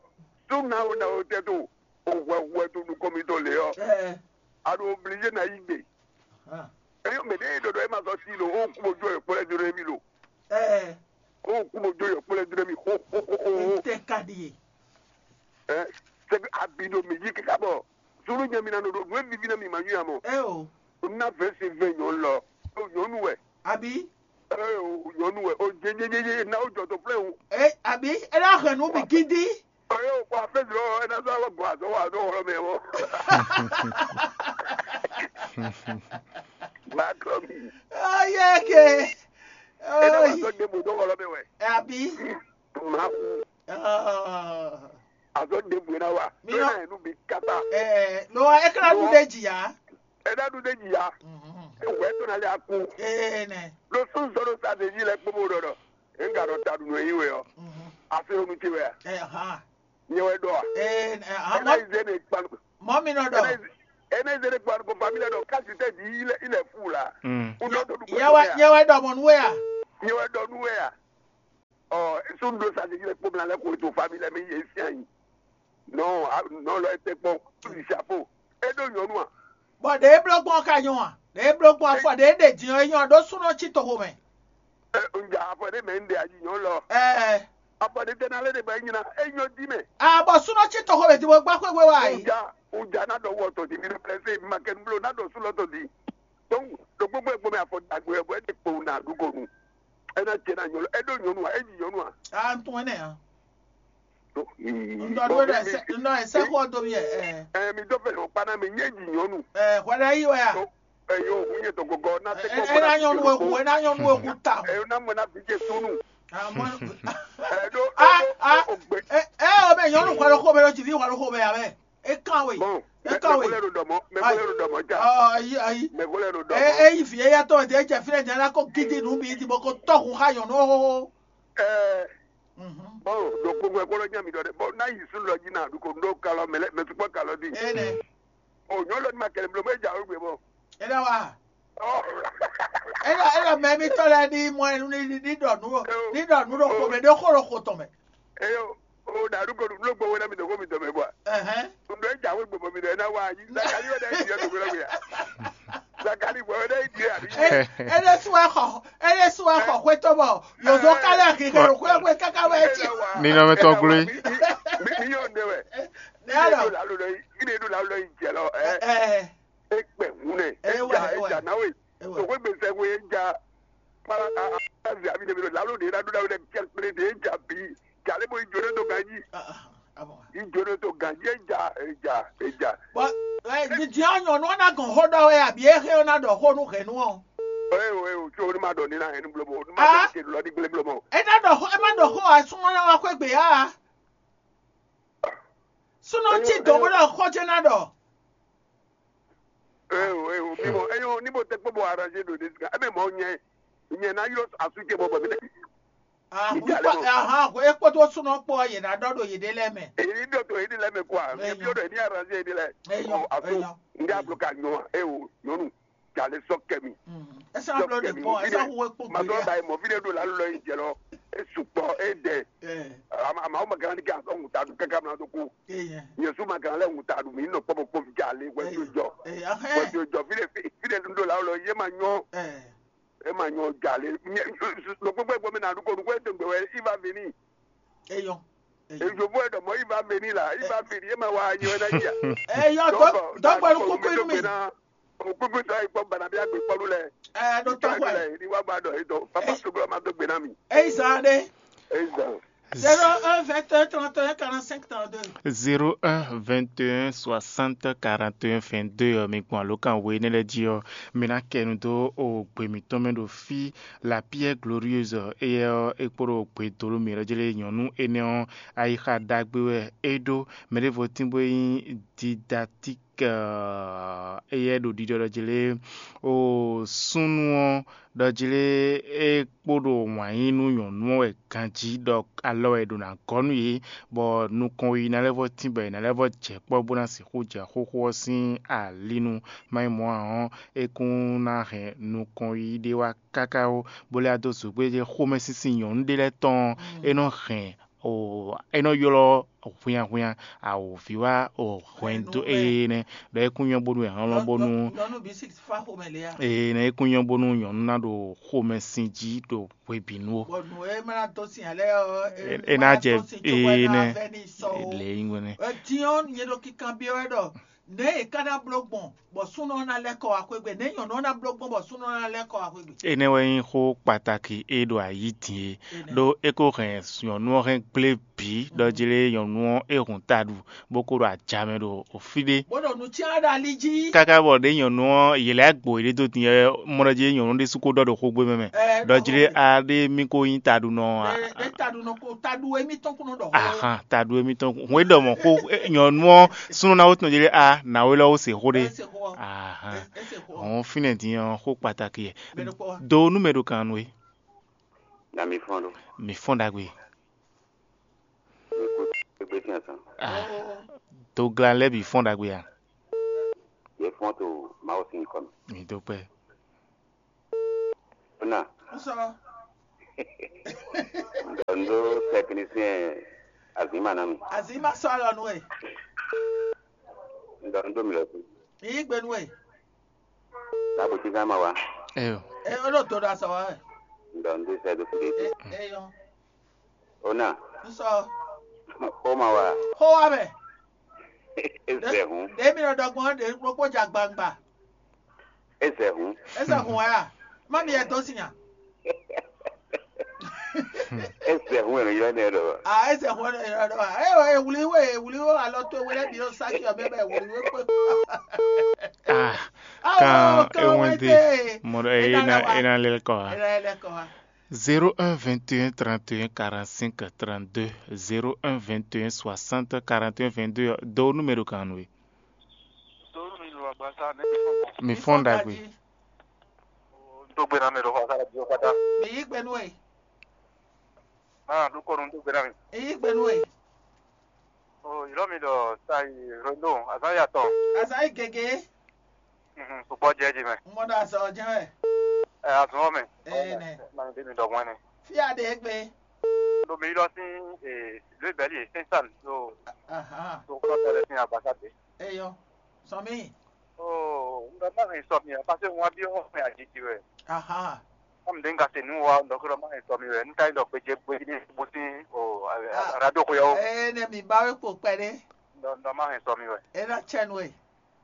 Su na o na o tɛ to. O wɛ wɛ to nukɔn mi to le ɔ. ɛ A ɖo obligé na yí gbe. ah, Eyɔ mɛ ɖe ɖɔɖɔ e ma sɔ si lo o kubo jo yɔ kplɛ dro mi lo. ɛ O kubo jo yɔ kplɛ dro mi ho ho ho ho ho. Ete ka ɖi ye. Ɛ, sɛ abi ɖo mi yi kaka bɔ. Sulu nya mi na nɔ ɖo nu e vivi na mi ma nyɔ amɔ. Ɛ o. Na vɛ se vɛ nyɔ lɔ. O nyɔnu wɛ. Abi Ɛ o nyɔnu wɛ. O je je je je na o jɔ to plɛ o. ɛ abi ela hɛn nu mi gidi. Ɛ o kɔ afɛ zɔ ɛ na zɔ awɔ gbɔ azɔ wa azɔ wɔlɔ mɛ wɔ. Ma kɔ mi. Ɔyɛ ke. Ɛ na wa zɔ de bo dɔ wɔlɔ mɛ wɛ. Abi. Ma ku. Ah. Azɔ de bo na wa. Mi Ɛ yɔ- na yɛ nu bi kata. Ɛ lo wa ekla nu de dzi ya. Ɛ na nu de dzi ya. Mhm. Ewɛ to na le aku. Ee nɛ. Lo sun sɔ lo sa de dzi lɛ kpɔmɔ ɖɔ ɖɔ. Ɛ n ka ɖɔ ta ɖu nɔ yi wɛ ɔ. Mhm. Afi onu ti wɛ a. Ɛ ha. Nyɛ wɛ ɖɔ a. Ee nɛ ha Ɛ na mɔ yi ze ne kpan. Mɔ mi nɔ Ɛ na yi dɔ. ze- ɛ na yi ze ne kpan ko famille dɔ kasi tɛ di yi lɛ yi lɛ fu la. Mm. U nɔ do du Yɛ wa yɛ wa dɔ mɔ nu wɛ ya. Nyɛ wɛ ɖɔ nu wɛ a. Ɔ esu do sa de dzi lɛ kpɔmɔ lɛ ko to famille mi ye si anyi. Non, a- non lɔ ete kpɔn. Tu di chapeau. E ɖo nyɔnu a. Bɔn ɖe e blɔ gbɔn ka nyɔ a? Ɖe e blɔ gbɔn afɔ ɖe e ɖe din ɔ e nyɔ ɖo sunɔ tsi toxo mɛ. Ɛ n ja afɔ ɖe mɛ n ɖe ayi nyɔ lɔ. Ɛɛ Afɔ ɖe tɛ na lɛ ɖe ba e nyina e nyɔ di mɛ. A bɔ sunɔ tsi toxo mɛ di mo gba xwegbe wa yi. Uja uja na dɔ wɔ tɔ di mi na presse ma kɛ n blo na dɔ su lɔ tɔ di. Donc ɖo gbogbo egbo mɛ afɔ dagbe ɛ bɔ e de kpo na ɖugo nu. E na jɛ na nyɔnu e ɖo nyɔnu a e yi nyɔnu a. A n tún ɛnɛ ya. Donc N dɔ do ɖe sɛ n dɔ sɛ xɔ do mi ɛ. Ɛ mi dɔ fɛ o kpa na mi nye yi nyɔnu. Ɛ hwɛ ɖe yi wɛ ya. Ɛ yo hu nye tɔgɔgɔ na se kɔ Ɛ na nyɔnu eku ɛ na nyɔnu eku ta. Ɛ na mɔ na vi je sunu. Amɔ Ɛ ɖo a a o gbe. Ɛ ɛ o bɛ nyɔnu kɔ lɔ xɔ bɛ lɔ jivi wà lɔ xɔ bɛ ya bɛ. E kan we. Bon. Mɛ kɔ we. Mɛkólɛ ɖo ɖɔ mɔ, mɛkólɛ ɖo ɖɔ mɔ ja. Ɔ, ayi, ayi. Mɛkólɛ ɖo ɖɔ E mɔ. E yi vi eya tɔn de jɛ fínɛ nya la ko gidi nú mi di bɔ ko tɔ́ hun xá nyɔ̌nu xóxó. Ɛɛ, Mhm. Bɔn ɖo kpokpo kpɔlɔ nya mi ɖɔ ɖɛ. Bɔn n'a yi sun lɔ jí na ɖu ko ɖo kalɔ mɛ lɛ mɛ sukpɔ kalɔ di. Ene. O nyɔ lɔ ni ma kɛlɛ blo mɛ ja o gbe bɔ. Ene wa. Ɔ. Ene ene mɛ mi tɔ lɛ ni mɔ enu ni ni ɖɔ nu ɖo ni ɖɔ nu ɖo xo mɛ ɖo xo ɖo xo tɔn mɛ. Eyo, o ɖa ɖu ko ɖu ló gbowó ná mi dɔn xó mi dɔn mɛ bɔ. Ɛhɛn. Ɖɔ e jawe gbɔmɔ mi ɖɔ e ná wá yi. Zakali wɛ ɖe yi diɛ dɔgbɛ lɔgbe ya. Zakali wɛ ɖe yi diɛ abi. Ele suwa xɔ, ele suwa xɔ xwetɔ bɔ yozo kálẹ̀ kike ɖo xwé xwé kaka wɛ ti. Ninɔmɛ tɔn glo yi. Mi mi yɔ ne wɛ. Ne Mi alɔ. Do lalo lɔ yi, mi ne do lalo lɔ yi jɛ lɔ. Ɛ, Ɛ e kpɛ hun nɛ. Ɛ, E wa, ja e e wa. Ja na we. E wa. Tɔgbe gbèsè we e ja. Para a a a zi abi ne mi do lalo de na do na we dɛ kɛ kple de e ja bi. Ja le bo yi jo ne do ganji. Ah, ah, ah bon. Yi jo ne do ganji e ja e ja e ja. Bɔn ɛ didi ɔ́ nyɔ̌nu ɔ́ ná gɔn xó ɖɔ wɛ abi é xé ɔ́ ná ɖɔ xó nú hɛ̌nnu ɔ́. Eye o eye o tso ní ma ɖɔ ní ná hɛn ní blóbó ní ma Ah. Ɖɔ ní lɔ ní gblé blóbó. É ná ɖɔ xó é má ɖɔ xó ǎ súnmọ́ ná wá xwé gbě á. Súnɔ tí dɔ̌n bó ɖɔ xó jẹ́ ná ɖɔ. Eye o eye o bí mɔ eye o ní bó tẹ́ kpó bó arrangé ɖo ní sika ebe mɔ nyɛ nyɛ ná ylɔ asú ce bɔ bɔ mi tɛ. Ahan, é kpódó súnɔ kpó ɔ́, yě ná ɖɔ ɖo yěɖée lɛ́ɛ mɛ. Èyí ɖɔ tó èyí lɛ mɛ kó a Eyɔn. Ebi ɖɔ èyí arrangé èyí lɛ. Eyɔn, Ato eyɔn. Ndé ablo ka nyɔ a e o nyɔnu jale sɔ kɛmi. Esa Sɔ blɔ de kɛmi bɔ mo fi esa de hu ekpo ma gbeli dɔ a. Ba yi mɔ fi de ɖo la lɔ yi jɛ lɔ. E sukpɔ e dɛ. Ɛ Ama ama ma gan ni ka sɔ ŋuta du kaka mla do ku. Eyɛn. Yesu ma gan lɛ ŋuta du mi nɔ kpɔ bɔ kpɔ fi jale wɛ fi jɔ. Ɛ ahɛ. Wɛ fi jɔ fi de fi de ɖo la lɔ ye ma nyɔ. Ɛ E ma nyɔ jalè. Ɖo kpekpe gbɔmɛ na ɖu ko ɖu ko e dogbe wɛ i va veni. Eyɔn. Ejovo e ɖɔ mɔ i va veni la i va veni e ma wa anyi wɛ na yia. Eyɔn dɔgbɛlu kuku inú mi. O kpekpe tɔ yi kpɔ bana bi agbe kpɔlu lɛ. Ɛ ɖo tɔ xɔ ɛ. Ni wa ba dɔ e dɔ papa soglo ma dogbe na mi. Eyi zan ɖe. Eyi zan. Zéro un vingt et un trente et un quarante-cinq trente-deux. Zéro un vingt et un soixante quarante et un vingt-deux ɔ́, mi gbɔn alǒkan we énɛ́ lɛ́ɛ jí ɔ́, mi ná kɛ nu dó ogbe mǐtɔn mɛ ɖo fí. La Pierre Glorieuse ɔ́, éyɛ́ ɔ́, é kpódó ogbe dó mǐ lɛ́ɛ jlé nyɔ̌nu énɛ́ ɔ́, ayixa ɖagbe wɛ é ɖó. Mɛ ɖěvo tín bó nyí Didati éyɛ́ ɖo ɖiɖɔ ɖɔ jlé o súnnu ɔ́ ɖɔ jlé é kpo ɖo wǎn yí nú nyɔ̌nu ɔ́ wɛ ganjí ɖɔ alɔ wɛ è ɖo ná gɔ́ nú yě, bɔ nukɔn yiyi ná lɛ́ vɔ́ tín bɔ è nǎ lɛ́ vɔ́ jɛ kpɔ́ bó ná sixú jɛ xóxó ɔ́ sín ali nu. Má nyí mɔ̌ ǎ ɔ́, é kún ná hɛn nukɔn yiyi ɖé wá káká ó, bó lɛ́ wá dó zǒgbéjɛ xomɛsinsin nyɔ̌nu ɖé lɛ́ɛ tɔn ɔ́, é nɔ hɛn o é nɔ ylɔ́ hwinnyahwinnya awǒvi wá o hwɛndo énɛ́, ɖɔ é kún nyɔ́ bónú è hlɔ́n bónú ee nɛ é kún nyɔ́ bónú nyɔ̌nu ná ɖo xomɛsin jí ɖo hwebǐnu ó. Bɔ nǔ e ma ná dó sin alɛ ɔ́, É ná jɛ ee nɛ lě nyí nɛ́. Din ɔ́, nyɛ ɖo kinkanbyɔ́ wɛ ɖɔ nɛ̌ è ká ná bló gbɔn bɔ súnɔ ɔ́ ná lɛ́ kɔ wá xwé gbe, nɛ̌ nyɔ̌nu ɔ́ ná bló gbɔn bɔ súnɔ ɔ́ ná lɛ́ kɔ wá xwé gbe. Énɛ́ wɛ nyí xó kpataki e ɖo ayǐ din é, ɖó é ko hɛn nyɔ̌nu ɔ́ hɛn gblé bǐ ɖɔ jlé nyɔ̌nu ɔ́ é hun taɖu bó ko ɖo ajamɛ ɖo fí ɖé. Bó ɖo nǔ cyán ɖo ali jí. Káká bɔ ɖě nyɔ̌nu ɔ́ yě lɛ́ gbo yě ɖé dó din ɔ́, mɔ ɖɔ jí nyɔ̌nu ɖésú ko ɖɔ ɖo xógbé mɛ mɛ. Ɛ, ɖɔ jí ɖɔ ɖé xógbé. A ɖé mí ko nyí taɖunɔ a. Ɛ, ɖé taɖunɔ ko taɖu émítɔn kún nɔ ɖɔ xó. Ahan, taɖu émítɔn kún. Hwɛ ɖɔ mɔ xó, e, nyɔ̌nu ɔ́ súnnu ná wó tɔn jí ɖé a nǎwe lɔ wó se xó ɖé. Ɛ, se xó ɔ́. Ahan. Ɛ, ɛ, se xó ɔ́. Hɔn fínɛ́ din ɔ́ xó kpataki yɛ. Mɛ ɖokpó wá. Do nú mɛ ɖo kan nú é. Na mi fɔ́n ɖó. Mi fɔ́n ɖagbe. Mi kú gbé sín azán. Ah, dogla lɛ́ɛ bǐ fɔ́n ɖagbe a? Yě fɔ́n to Mawu sín nyǐkɔ mɛ. Mi dó kpɛ́. Ó nà. Sɔ. Ɖɔ nú tɛknisiyɛn azǐma ná mi. Azǐma sɔ alɔ nú ɛ. Ɖɔ nú mi lɔ sí. Yí gbe nú ɛ. Lábò tí ká máa wá. Ẹ o. Ẹ ó lò tó ɖo azɔ wa wɛ. Ŋdɔ ŋdó sɛ dó fúde. Ẹ ẹ yɔ. Ó nà. Nsɔ. Ó máa wá. Xó wa mɛ. É zɛ hǔn. Ɖe mi nɔ ɖɔ gbɔn ɖe kpókpó ja gbangba. É zɛ hǔn. É zɛ hǔn wɛ a? Má mi yɛ dó sin a? É zɛ hǔn wɛ mi yɔ nɛ ɖɔ. Ah, é zɛ hǔn wɛ nɔ yɔ ɖɔ. Ɛ ɛ wuli wɛ wuli wɛ alɔ tó wɛ lɛ bi ɔ saki ɔ bɛ bɛ wuli wɛ kpé. Ah, Awo, kan kan ewen wete. De mɔɖɔ ena ena lɛ kɔ ha. Ena lɛ kɔ ha. Zéro un vingt et un trente et un quarante-cinq trente-deux, zéro un vingt et un soixante quarante et un vingt-deux, do numéro kan we. Mi fɔ́n ɖagbe. Tó gbé ná mi ɖo xɔ sára jí kpátá. Mi yí gbe nú ẹ. Máa dúkọ́ nu tó gbé ná mi. Mi yí gbe nú ẹ. O ìlọ́ mi ɖɔ sa yi rondo azán yatɔ. Azán yi gègé. Sukpɔ jɛ ji mɛ. Mɔ ɖo azɔ jɛ mɛ. Ɛ azɔn mɛ. Ee nɛ. Maa ɖe mi ɖɔ mɔ ɛnɛ. Fia ɖe gbe. Ɖo mi ylɔ sín ee lóyè bɛ́lí e sɛnsán ɖo Ahan. Ɖo kɔ́tɔ lɛ sín agbasa ɖe. Eyɔ. Sɔn mi. Oo n bɛ má hɛn sɔ mi ǎ, paseke wọn wá byɔ́ xɔ mɛ ajiji wɛ. Ahan. Kɔmi ɖe n ka se nǔ wa un ɖɔ xó ɖɔ má hɛn sɔ mi wɛ, n ka nyí ɖɔ xwé jɛ gbé ní bó sín o aɖó xó yɔ́wó. Ee nɛ mi ba wé kpo kpɛɖé. Ɖɔ má hɛn sɔ mi wɛ. E ná tsɛ nú e.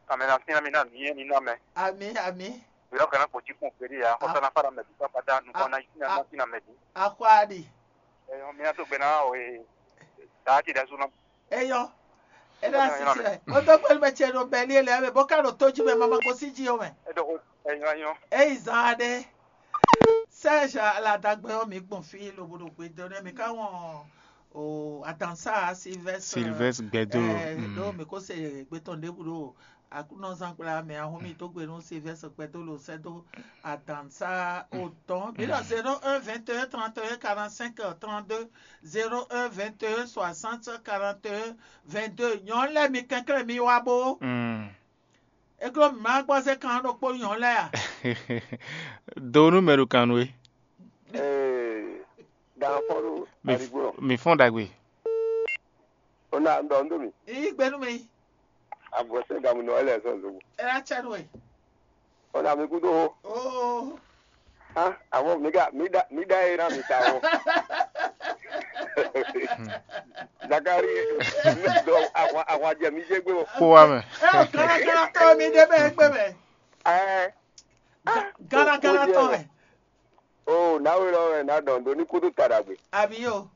Kàmɛ ná sín mi ná mi yé mi ná mɛ. Ami ami. Yɔ́ kana kpó cí kún gbéɖé ya, xɔsá ná fara mɛ bí pápá dá nukɔn ná yí ná ná sí ná mɛ dí. Axwáɖi. Ɛyɔ mi ná tó gbé ná o e. Daa ti ɖɛ sú ná. Eyɔ. Ena sisi wɛ. Wotɔ kpɛlú mɛ tiɛ ɖo bɛli ele ɛmɛ bɔ ka ɖo tó jí mɛ mama gosí jí o mɛ. Eyi zan aɖe. Serge aladagbe ɔ mi gbɔn fi lobo ɖo gbe dɔ nɛ mi ka wɔn o adansa Sylvester. Sylvester gbɛdo. Ɖo mi ko se gbetɔn ɖebu ɖo akunɔzan kpla mɛ ahun mi tó gbe nú Sylvester gbɛdo lo sɛ do adansa otɔn. Mi ɖɔ zéro un vingt et un trente et un quarante-cinq trente-deux. Zéro un vingt et un soixante quarante et un vingt-deux. Nyɔ̌nu lɛ́ɛ mi kɛnklɛ́n mi wá bó. É glɔ́ mǐ ma gbɔ zé kan ɖokpó nyɔ̌nu lɛ́ɛ a? Do nú mɛ ɖo kan nú we. Ee, dan fɔ́n ɖo Mi f- aligbó. Mi fɔ́n ɖagbe. Ó ná ɖɔ nú mi. Yí gbe nú mi. Avɔ sɛ́ gamu nɔ ɛlɛ sɔn zobo. É ná tsɛ nú we. Ó ná mi kúdó hó. Oo. Ah, àwọn mi dá mi dá mi dá yé ná mi ta wọn. Zakari, dɔ àwọn àwọn jẹ mi jẹ gbé wọn. Kó wa mɛ. É o kárakára tɔn mi dé bẹ́ẹ̀ gbé mẹ́. Ẹ Gánagáná tɔn mɛ. O náwó lɔ wɛ ná dɔn do ní kúdú taɖagbe. Àbí o.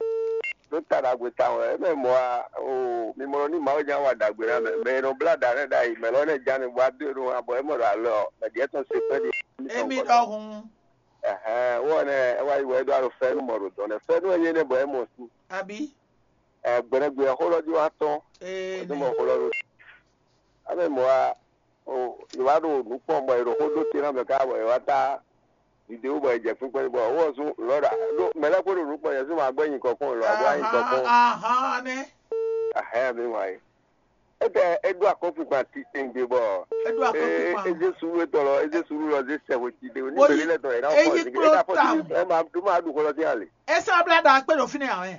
Ló taɖagbe ta wɛ eme mɔ a o mi mɔ ní Mawu nya wa ɖagbe ná mɛ mɛ e nɔ blá ɖa nɛ ɖ'ayi mɛ lɔ nɛ ja mi bɔ adó e ɖo abɔ e mɔ ɖo alɔ mɛ ɖiɛ tɔn se kpɛɖi. Emi ɖɔhun. Ɛhɛn wɔ nɛ e wá yi wɔ e ɖo alo fɛnu mɔ ɖo dɔn nɛ fɛnu e nyɛ nɛ bɔ e mɔ su. Àbí. Ɛ gbɛnɛgbɛ xó lɔ jí wá tɔn. Ee Ɛ tó mɔ xó lɔ ɖo. Ame mɔ a o yě wá ɖo nǔ kpɔn bɔ è ɖo xó ɖó te ná mɛ ká bɔ yě wá tá video bɔ è jɛ kpínkpɔ́n bɔ wɔ sú lɔ ɖa ɖó mɛ lɛ́ɛ kpó ɖo nǔ kpɔn yě sú ma gbɛ́ nyi kɔkɔn lɔ abɔ anyi kɔkɔn. Ahan nɛ. Ahɛn mi wá yi. Ete e ɖó akɔ́kpikpan titewungbe bɔ Eɖo akɔ́kpikpan. E zé suɖu etɔn lɔ e zé suɖu lɔ zé sɛ hwe ti ɖe ní Wo gbeli yi- lɛ tɔn yě ná e fɔ yi zikle kplɔ́n e ná fɔ tawun. Ti e ma ɖu ma ɖu xɔ lɔ ti ali. Esa bla ɖa akpe ɖo fínɛ awɛ.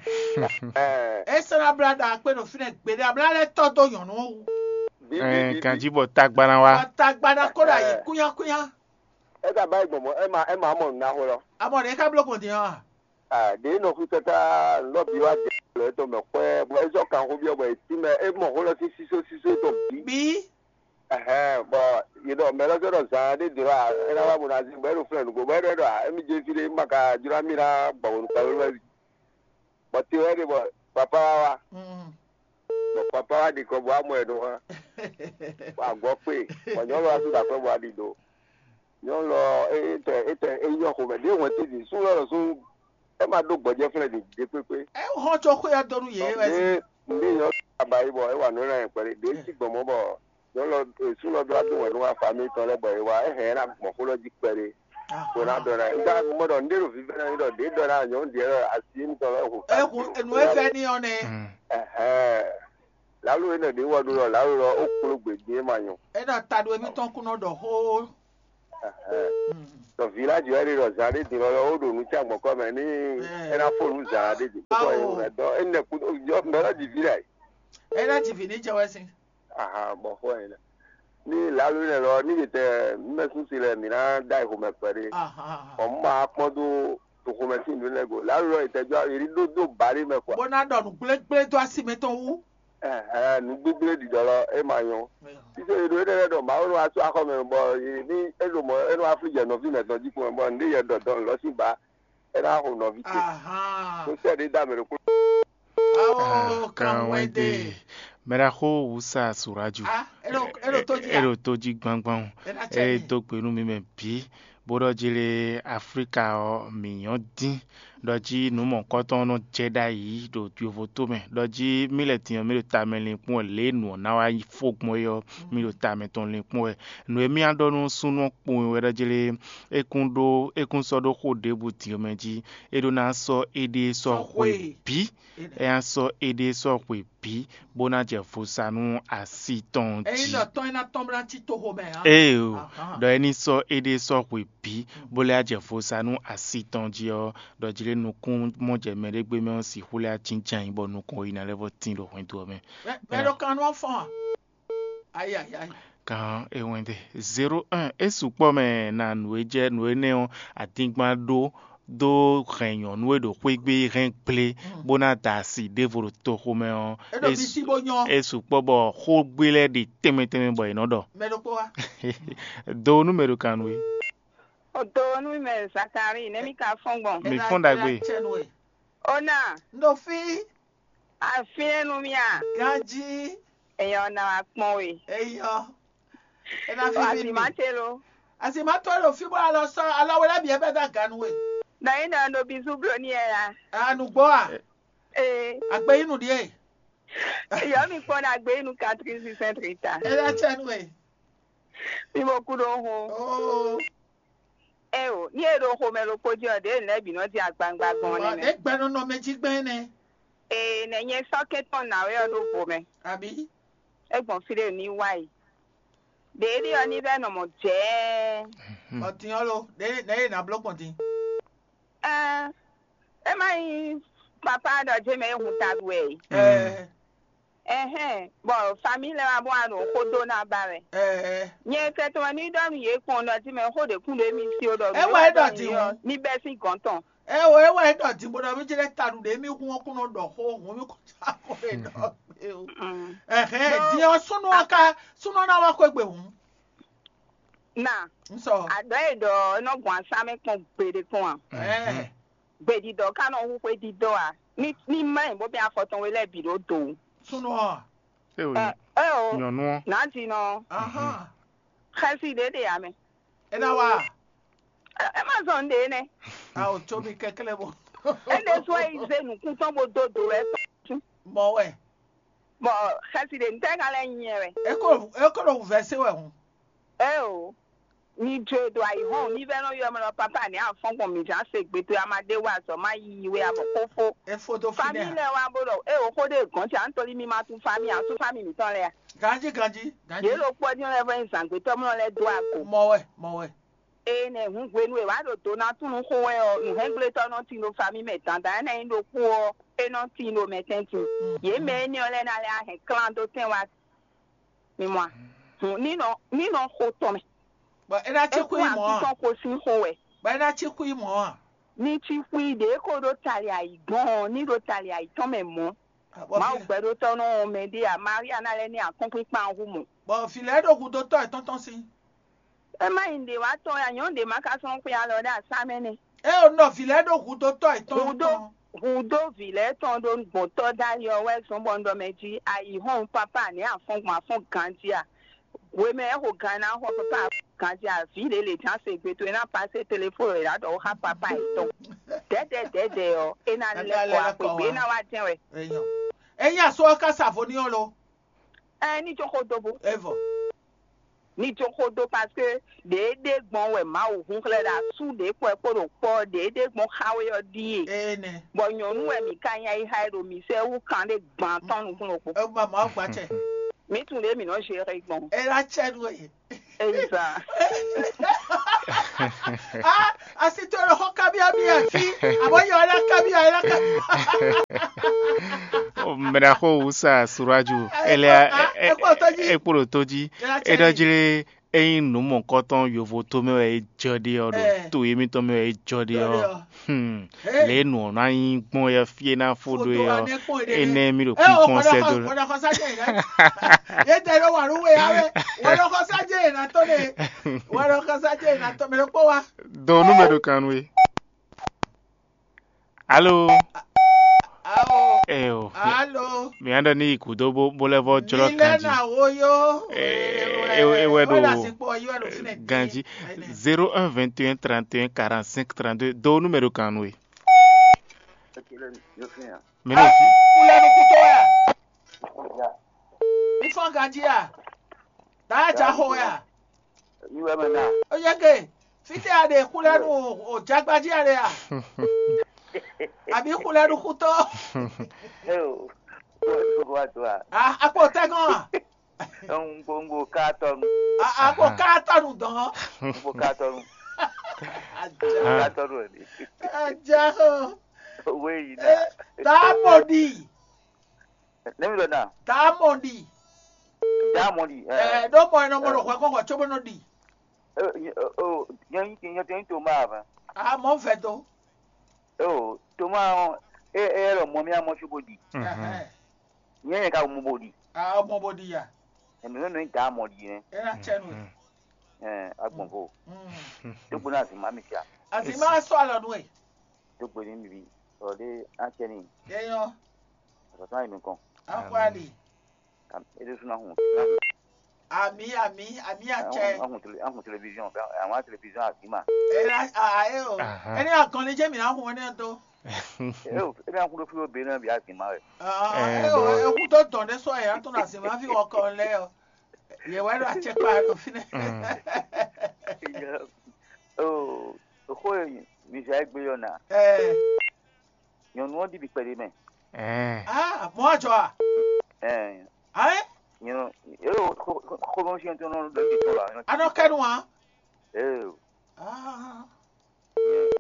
Ɛɛ Esa na bla ɖa akpe ɖo fínɛ gbeɖe abla lɛ tɔ do nyɔnu wu. Bi bi Ɛɛ, bi bi. Ganji bɔ tagbana wa. Ata gbada ko ɖo ayi Ɛɛ. Kúnyákúnyá. Eka ba yi gbɔn mɔ ema ema mɔ nuna xo lɔ. Amɔ ɖe ka blo gbɔn din ɔ. Ah, ɖe nɔ xwítɔ́tá lɔbí wá jɛ lɔ etɔn mɛ xwɛ bɔ ezɔ kan xó biɔ bɔ etí mɛ emɔ xó lɔ sín sísó sísó etɔn bí. Bí. Ɛhɛn bɔ yedɔ mɛ lɔ sɔ ɖɔ zan ɖe dro a ena wa bona zi bɔ eɖo flɛ nugo bɔ eɖɔ eɖɔ a emi jɛ fi ɖe ma ka jra mi na gbɔ wonu kpɛ wɛ bi. Bɔ te wɛ ɖe bɔ papa wa wa. Mm. Bɔ papa wa ɖi kɔ bɔ amɔ ɛ ɖo hã. Bɔ agɔ kpe bɔ nyɔnu wa su ɖe aƒe bɔ aɖi do. Nyɔnu lɔ etɛ etɛ eyɔ xomɛ ɖe hɔn ti di su lɔ lɔ su ema ɖo gbɔjɛ flɛ di de kpekpe. E hɔn tso xwé ɔ́ dó nú yě wɛ sí. Nde nyɔnu aba yi bɔ ewa nɔ na yɛ kpɛɖe ɖe si gbɔn mɔ bɔ nyɔnu lɔ esu lɔ ɖo ado wɛ nú afa mi tɔn lɛ bɔ ewa ehɛn ena gbɔn xó lɔ jí kpɛɖe. Kò ná dɔn na ega mɔ ɖɔ nde ɖo vivɛ na mi ɖɔ ɖe dɔn na nyɔnu diɛ lɔ asi mi tɔn lɛ ho. Ehu enu e fɛ ni ɔ nɛ. Ɛhɛn. Lalo enɛ ɖe wɔ ɖo lɔ lalo lɔ o kpló gbe din e ma nyɔ. E nɔ ta ɖo emi tɔn kun nɔ ɖɔ xó. Ɛhɛn. Tɔ village wɛ ɖe ɖɔ zan ɖe din lɔ lɔ o ɖo nu tsa gbɔn kɔ mɛ ni e na fo nu zan ɖe din. Awo. Kɔ e wɛ dɔ enɛ ku yɔ mɛ lɔ di vi lɛ. E na di vi ni jɛ wɛ sin. Aha bɔ xɔ yɛ lɛ. Ni lalo enɛ lɔ ni yɛ tɛ mɛ sun si lɛ mi na da yi xomɛ kpɛ ɖe. Aha. Ɔ ma kpɔn do to xomɛ sin nu lɛ go. Lalo lɔ yɛ tɛ jɔ yɛ ɖo do ba ɖe mɛ kɔ. Bó ná ɖɔ nǔ gblégblé dó asi mɛ tɔn wú. Ɛhɛn, nǔ gbígbí ɖiɖɔ lɔ é ma nyɔ́. Títí e ɖo énɛ́ lɛ́ɛ ɖɔ Mawu nɔ wá sú axɔ́ mɛ bɔ ní é ɖo mɔ̌ é nɔ wá flú jɛ nɔví mɛtɔn jí kpɔ́n bɔ nǔɖé yɛ ɖɔ dɔn lɔ̌ sín ba é ná xo nɔví ce. Ahán. Tó sɛ ɖé dá mɛ ɖokpó. Awo kan wɛn de. Mɛɖaxó wǔsa Suraju. Ah, é ɖo é ɖo tó jí É a? Ɖo tó jí gbangban o. É ná cɛ É mì. Dó gbe nú mi mɛ bǐ. Bó ɖɔ jí lé Aflíka ɔ́, mǐ nyɔ́ dín. ɖɔ jí nǔ mɔ̌kɔtɔn nɔ jɛ ɖ'ayǐ ɖo yovoto mɛ, ɖɔ jí mì lɛ́ din ɔ́, mì ɖo tamɛ linkpɔ́n wɛ, lě e nǔ ɔ́ ná wá fó gbɔn é ɔ́, mì ɖo tamɛ tɔn linkpɔ́n wɛ. Nǔ e mì wá ɖɔ nú súnnu ɔ́ kpowun wɛ ɖɔ jí lé, é kún ɖó é kún sɔ́ ɖó xó ɖěbǔ din ɔ́ mɛ jí, é ɖó ná sɔ́ éɖée sɔ́ xwe bǐ. É ná sɔ́ éɖée sɔ́ xwe bǐ, bó ná jɛ vo sa nú asi tɔn jí. Ényí ɖɔ tɔn é ná tɔ́n bó ná cí toxo mɛ ǎ. Ee o, ɖɔ é ní sɔ́ éɖée sɔ́ xwe bǐ, bó lɛ́ jɛ vo sa nú asi tɔn jí ɔ́, ɖɔ jí lé nukún mɔ jɛ mɛ ɖé gbé mɛ ɔ́ sixú lɛ́ jínjɛ́n ayǐ bɔ nukɔn yi ná lɛ́ vɔ tín ɖo hwɛndo ɔ́ mɛ. Mɛ ɖo kan nú ɔ́ fɔ́n a? Ayayay. Kan e wɛn de zéro un é sukpɔ́ mɛ na nǔ e jɛ nǔ énɛ́ ɔ́, adingban ɖó dó hɛn nyɔ̌nu e ɖo xwé gbe hɛn gblé, bó ná da asi ɖěvo ɖo toxo mɛ ɔ́. É ɖo bisi bó nyɔ́. É sukpɔ́ bɔ xógbé lɛ́ɛ ɖi tɛnmɛ tɛnmɛ bɔ è nɔ ɖɔ. Mɛ ɖokpó wá. Do nú mɛ ɖo kan nú we. O do nú mɛ Zakari, nɛ́ mi ka fɔ́n gbɔn. Mi fɔ́n ɖagbe. Ona. N ɖo fí. Afínɛ́ nú mì a? Ganjí. Èèyàn ná wá kpɔ́n we. Eyɔ. É ná fífí mi. Azimate lo. Azimate lo fí bó alɔ sɔ alɔ wɛ lɛ́ bǐ ɛ bɛ́ dó aga nú we. Nɔ yí nɔ ɖo bizú blo n'i ɛ la. Anugbɔ a? Ee. Agbe yí nu ɖíe. Yɔ mi kpɔn ɖo agbe yí nu katrin sinsɛn trita. É ná tsɛ nú we. Mi mo kú ɖó ho. Oo. Eo, ní e ɖo xomɛ ɖokpó jí ɔ́, ɖěe nɛ̌ bǐ nɔ jí agbangba gbɔn nɛ́ mɛ. Ɖě gbɛnɔnɔ mɛ jí gbɛn nɛ́. Ee, nɛ̌ nyɛ sɔ́ kɛ́ntɔn ná wɛ ɔ́ ɖó vo mɛ. Abǐ? É gbɔn fí ɖé ní wá yi. Ɖě ɖé ɔ́ ní vɛ́ nɔ mɔ jɛ̌ɛ́. Ɔ́ din ɔ́ lo, nɛ̌ nɛ̌ e nǎ bló gbɔn din? Ɛɛ, é má nyí papá ɖɔ jé mɛ é hun taɖu wɛ e. Ɛɛ. Ɛhɛn, bɔ famíi lɛ́ɛ wá bó wá ɖo xó dó ná ba wɛ. Ɛɛ. Nyɛ kɛtɔn wɛ ní ɖɔ nú yě kpɔ́n ɖɔ jí mɛ xó ɖě kún ɖo émí sí ó ɖɔ É wá é ɖɔ din ɔ́, ní bɛ́ sín gɔ̌n tɔn. Ɛ o é wá é ɖɔ din bó ɖɔ mí jɛ lɛ́ taɖu ɖě émí hun ɔ́ kún nɔ ɖɔ xó hun mí kún já xó é ɖɔ gbé o. Ɛhɛn, din ɔ́ súnú ɔ́ ká súnú ɔ́ ná wá xwé gbe hǔn. Na Un sɔ. Aɖɔ e ɖɔ é nɔ gbɔn asá mɛ kpɔn gbeɖé kpɔn a? Ɛɛ. Gbedidɔ ka nɔ hu xwé didɔ a? Ní ní má nyí bó bɛn afɔ tɔn we lɛ́ɛ bǐ ɖó do. Súnú ɔ́. Eo, Ɛ ɛ o, nyɔnu ɔ́. Nǎ din ɔ́, Ahán. Xɛsi ɖě ɖe ame. É ná wá. Ɛ má zɔn ɖě nɛ́. A ò tso mi kɛklɛ́ bɔ. Éɖé sɔ yi zé nǔkún tɔn bó dó do wɛ tɔn. Mɔ wɛ. Bɔ xɛsi ɖě ntɛ́ ka lɛ́ nyi ɛ wɛ. É kó é kó ɖo wǔvɛ́ sé wɛ hǔn. Ɛ o. Mi jo e ɖo ayǐhɔ́n mi vɛ́ nɔ ylɔ́ mɛ ɖɔ papa nɛ̌ a fɔ́n gbɔn mǐ zán se gbe towe a ma ɖe wá azɔ̌ ma yiyi wé a bɔ xófó. É fó dó Famí fínɛ́. Lɛ́ɛ wá bó ɖɔ é o xó ɖé gɔ̌n ce Antɔ́lí mi ma tunwun famí a, a tunwun famí mǐtɔn lɛ́ɛ a? Ganjí ganjí ganjí. Yě ɖo kpɔ́ dín lɛ́ɛ vɔ nyí zǎngbétɔ́ mlɔ́ lɛ́ɛ dó ago. Mɔ wɛ mɔ wɛ. Ée nɛ́ hǔn hwenu e wǎ ɖo do ná tunwun xó wɛ ɔ́, nǔhɛ́ngblé tɔ́ nɔ tin ɖo famí mɛ dandan énɛ́ nyí ɖokpó ɔ́, é nɔ tin ɖo mɛ tɛ́ntin. Yě mɛ énɛ́ ɔ́ lɛ́ɛ ná lɛ́ hɛn klán dó tɛn wá. Mi mɔ a? Hǔn ní nɔ ní nɔ xo tɔn mɛ. Bɔ é ná cí xwí mɔ̌ a? Tɔn ko sín xo wɛ. Bɔ é ná cí xwí mɔ̌ a? Ní cí xwí ɖě ko ɖó tali ayǐ gbɔn ɔ́, ní ɖo tali ayǐ tɔn mɛ mɔ̌. Mawu gbɛɖótɔ́ nɔ wɔn mɛ ɖé a? Maria ná lɛ́ ní akɔ́nkpinkpan ɔ́ hu mɔ. Bɔ vǐ lɛ́ɛ ɖo hudotɔ́ yětɔn tɔn sín. É má nyí ɖě wá tɔn ya nyɔ̌nu ɖě má ka sɔ́ xwe alɔ ɖé asá mɛ nɛ́. É o nɔ vǐ lɛ́ɛ ɖo hudotɔ́ yětɔn Hudó tɔn. Hudó vǐ lɛ́ɛ tɔn ɖó gbɔn tɔ́ dali ɔ́ wɛ zɔ́n bɔ un ɖɔ mɛ jí ayǐhɔ́n papá nɛ̌ a fɔ́n gbɔn a fɔ́n ganjí a? Hwemɛ é xo gan ná xɔ papá ganjí a? Vǐ lě lě ján se gbe towe ná pasé telefóni e ɖǎ ɖɔ xá papá yětɔn. Dɛ̌dɛ̌ dɛ̌dɛ̌ ɔ́, é ná lɛ́ kɔ axwegbe é ná wá jɛ́n wɛ. Enyɔ. Ényí asú ɔ́ ká sa vo n'i ɔ́ lo? Ɛ ní jó xó dó bó. Evɔ. Ní jó xó dó parce que ɖě ɖé gbɔn wɛ Mawu hun xlɛ́ ɖo asú ɖě kpɔ́ ɛ kpó ɖo kpɔ́ ɖě ɖé gbɔn xá we ɔ́ ɖíe. Ene. Bɔ nyɔ̌nu wɛ mǐ ka nya yi xá ɛ ɖo mǐ sɛ́ wú kan ɖé gban tɔn nukún ɖokpó. Ema Mawu gba cɛ. Mǐ tunwun ɖě mǐ nɔ zere gbɔn. Ela cɛ nú ɛ. Eza. Ah, asi to ɖo xɔ kabiya mi afi. Abo yɔ ela kabiya ela kabiya. Mɛɖaxo wusa suraju. Ele ekpɔ ɖo to jí. Eɖɔ jlé eyin nǔ mɔkɔtɔn yovo to mɛ wɛ e jɔ ɖe ɔ ɖo to yémítɔn mɛ wɛ e jɔ ɖe ɔ. Hmm. Lě e nǔ ɔ́ ná nyí gbɔn yɛ fí e ná fó ɖó é ɔ́, énɛ́ mì ɖo kpínkpɔ́n sɛ́ dó. Yétɛ ɖo wà ló wé ya wɛ wɛlɔkɔsá jẹ́ ìrántó ne wɛlɔkɔsá jẹ́ ìrántó mɛ ló kpó wa. Dɔn nú mɛ ɖo kan nú we. Alo. Awo. Eo. Alo. Mi aɖe ni yi kudo bó bó lɛ vɔ jlɔ kan jí. Milena wo yo. Ewɛ ɖo ganji zéro un vingt et un trente et un quarante cinq trente deux do nú mɛ ɖo kan nú we. Mí ɖo fí. Kulɛ nukúntɔ́ wɛ a? Mí fɔ́n ganjí a? Daa ja xo wɛ a? Mí wɛ mɛ na. Ó yɛ ke, fítɛ́ a ɖe kulɛ nu o jagbají a ɖe a? Àbí kulɛ nukúntɔ́? Eo, kó wá do a? A a kpo tɛgɔn a? Un kpo un kpo ká tɔnu. A a kpo ká tɔnu dɔn. Un kpo ká tɔnu. Ká tɔnu ɛ ni. Aja o. Owó yìí na. Daa mɔ ɖi. Nɛmi lɔ na. Daa mɔ ɖi. Daa mɔ ɖi. Ɛ ɖó mɔ ɛnɔ mɔ ɖo hwɛ kɔn hwɛ tso bó nɔ ɖi. Nyɛ nyɛ tɛ nyɛ to ma a? A mɔ vɛ do. Eo, Toma ɔ́, é é lɔ mɔ mì amɔ cóbó ɖi. Ɛhɛn. Nyɛ nyɛ ka mɔ bó ɖi. A mɔ bó ɖi ya. Ɛmɛ mɛ mɛ da mɔ ɖi nɛ. É ná cɛ nú ɛ. Ɛ agbɔn vo. Mm. Dógbo ná zin má mi fia. Azima sɔ alɔ nú ɛ. Dógbo ní mi bi. Ɔ ɖe á cɛ ní. Eyɔn. Ɔtɔtɔ ayi mi kɔn. Akwali. Am- Ele suna hun. Ami ami ami atsɛ. Ahun tele ahun télévision. Àwọn télévision àgbìmà. Era a e o. Ahan. Ẹni akànnì jẹ́ mi náà hun ẹni tó. Eo, ebe an kudo filo be na bi azima rẹ. Ah, Eh, e o bro. E kú tó dàn dé sọ ẹ̀ á tó nà sí máa fi wọ́n kọ́ lẹ́ ọ. Yẹ wá lọ àtsẹ pa lọ fi nẹ. Mm. Oh, xó e mi zɛ egbe yɔ na. Ẹ Nyɔnu ɔ́ ɖi bi kpɛɖé mɛ. Ɛɛ. Ah, mɔ àjọ à? Ɛɛ, Ayé, nyɔnu eo xomɔsiɛn tó nɔ ɖo ɖi tɔn la. Anɔ kɛnu à? Eo, Ah,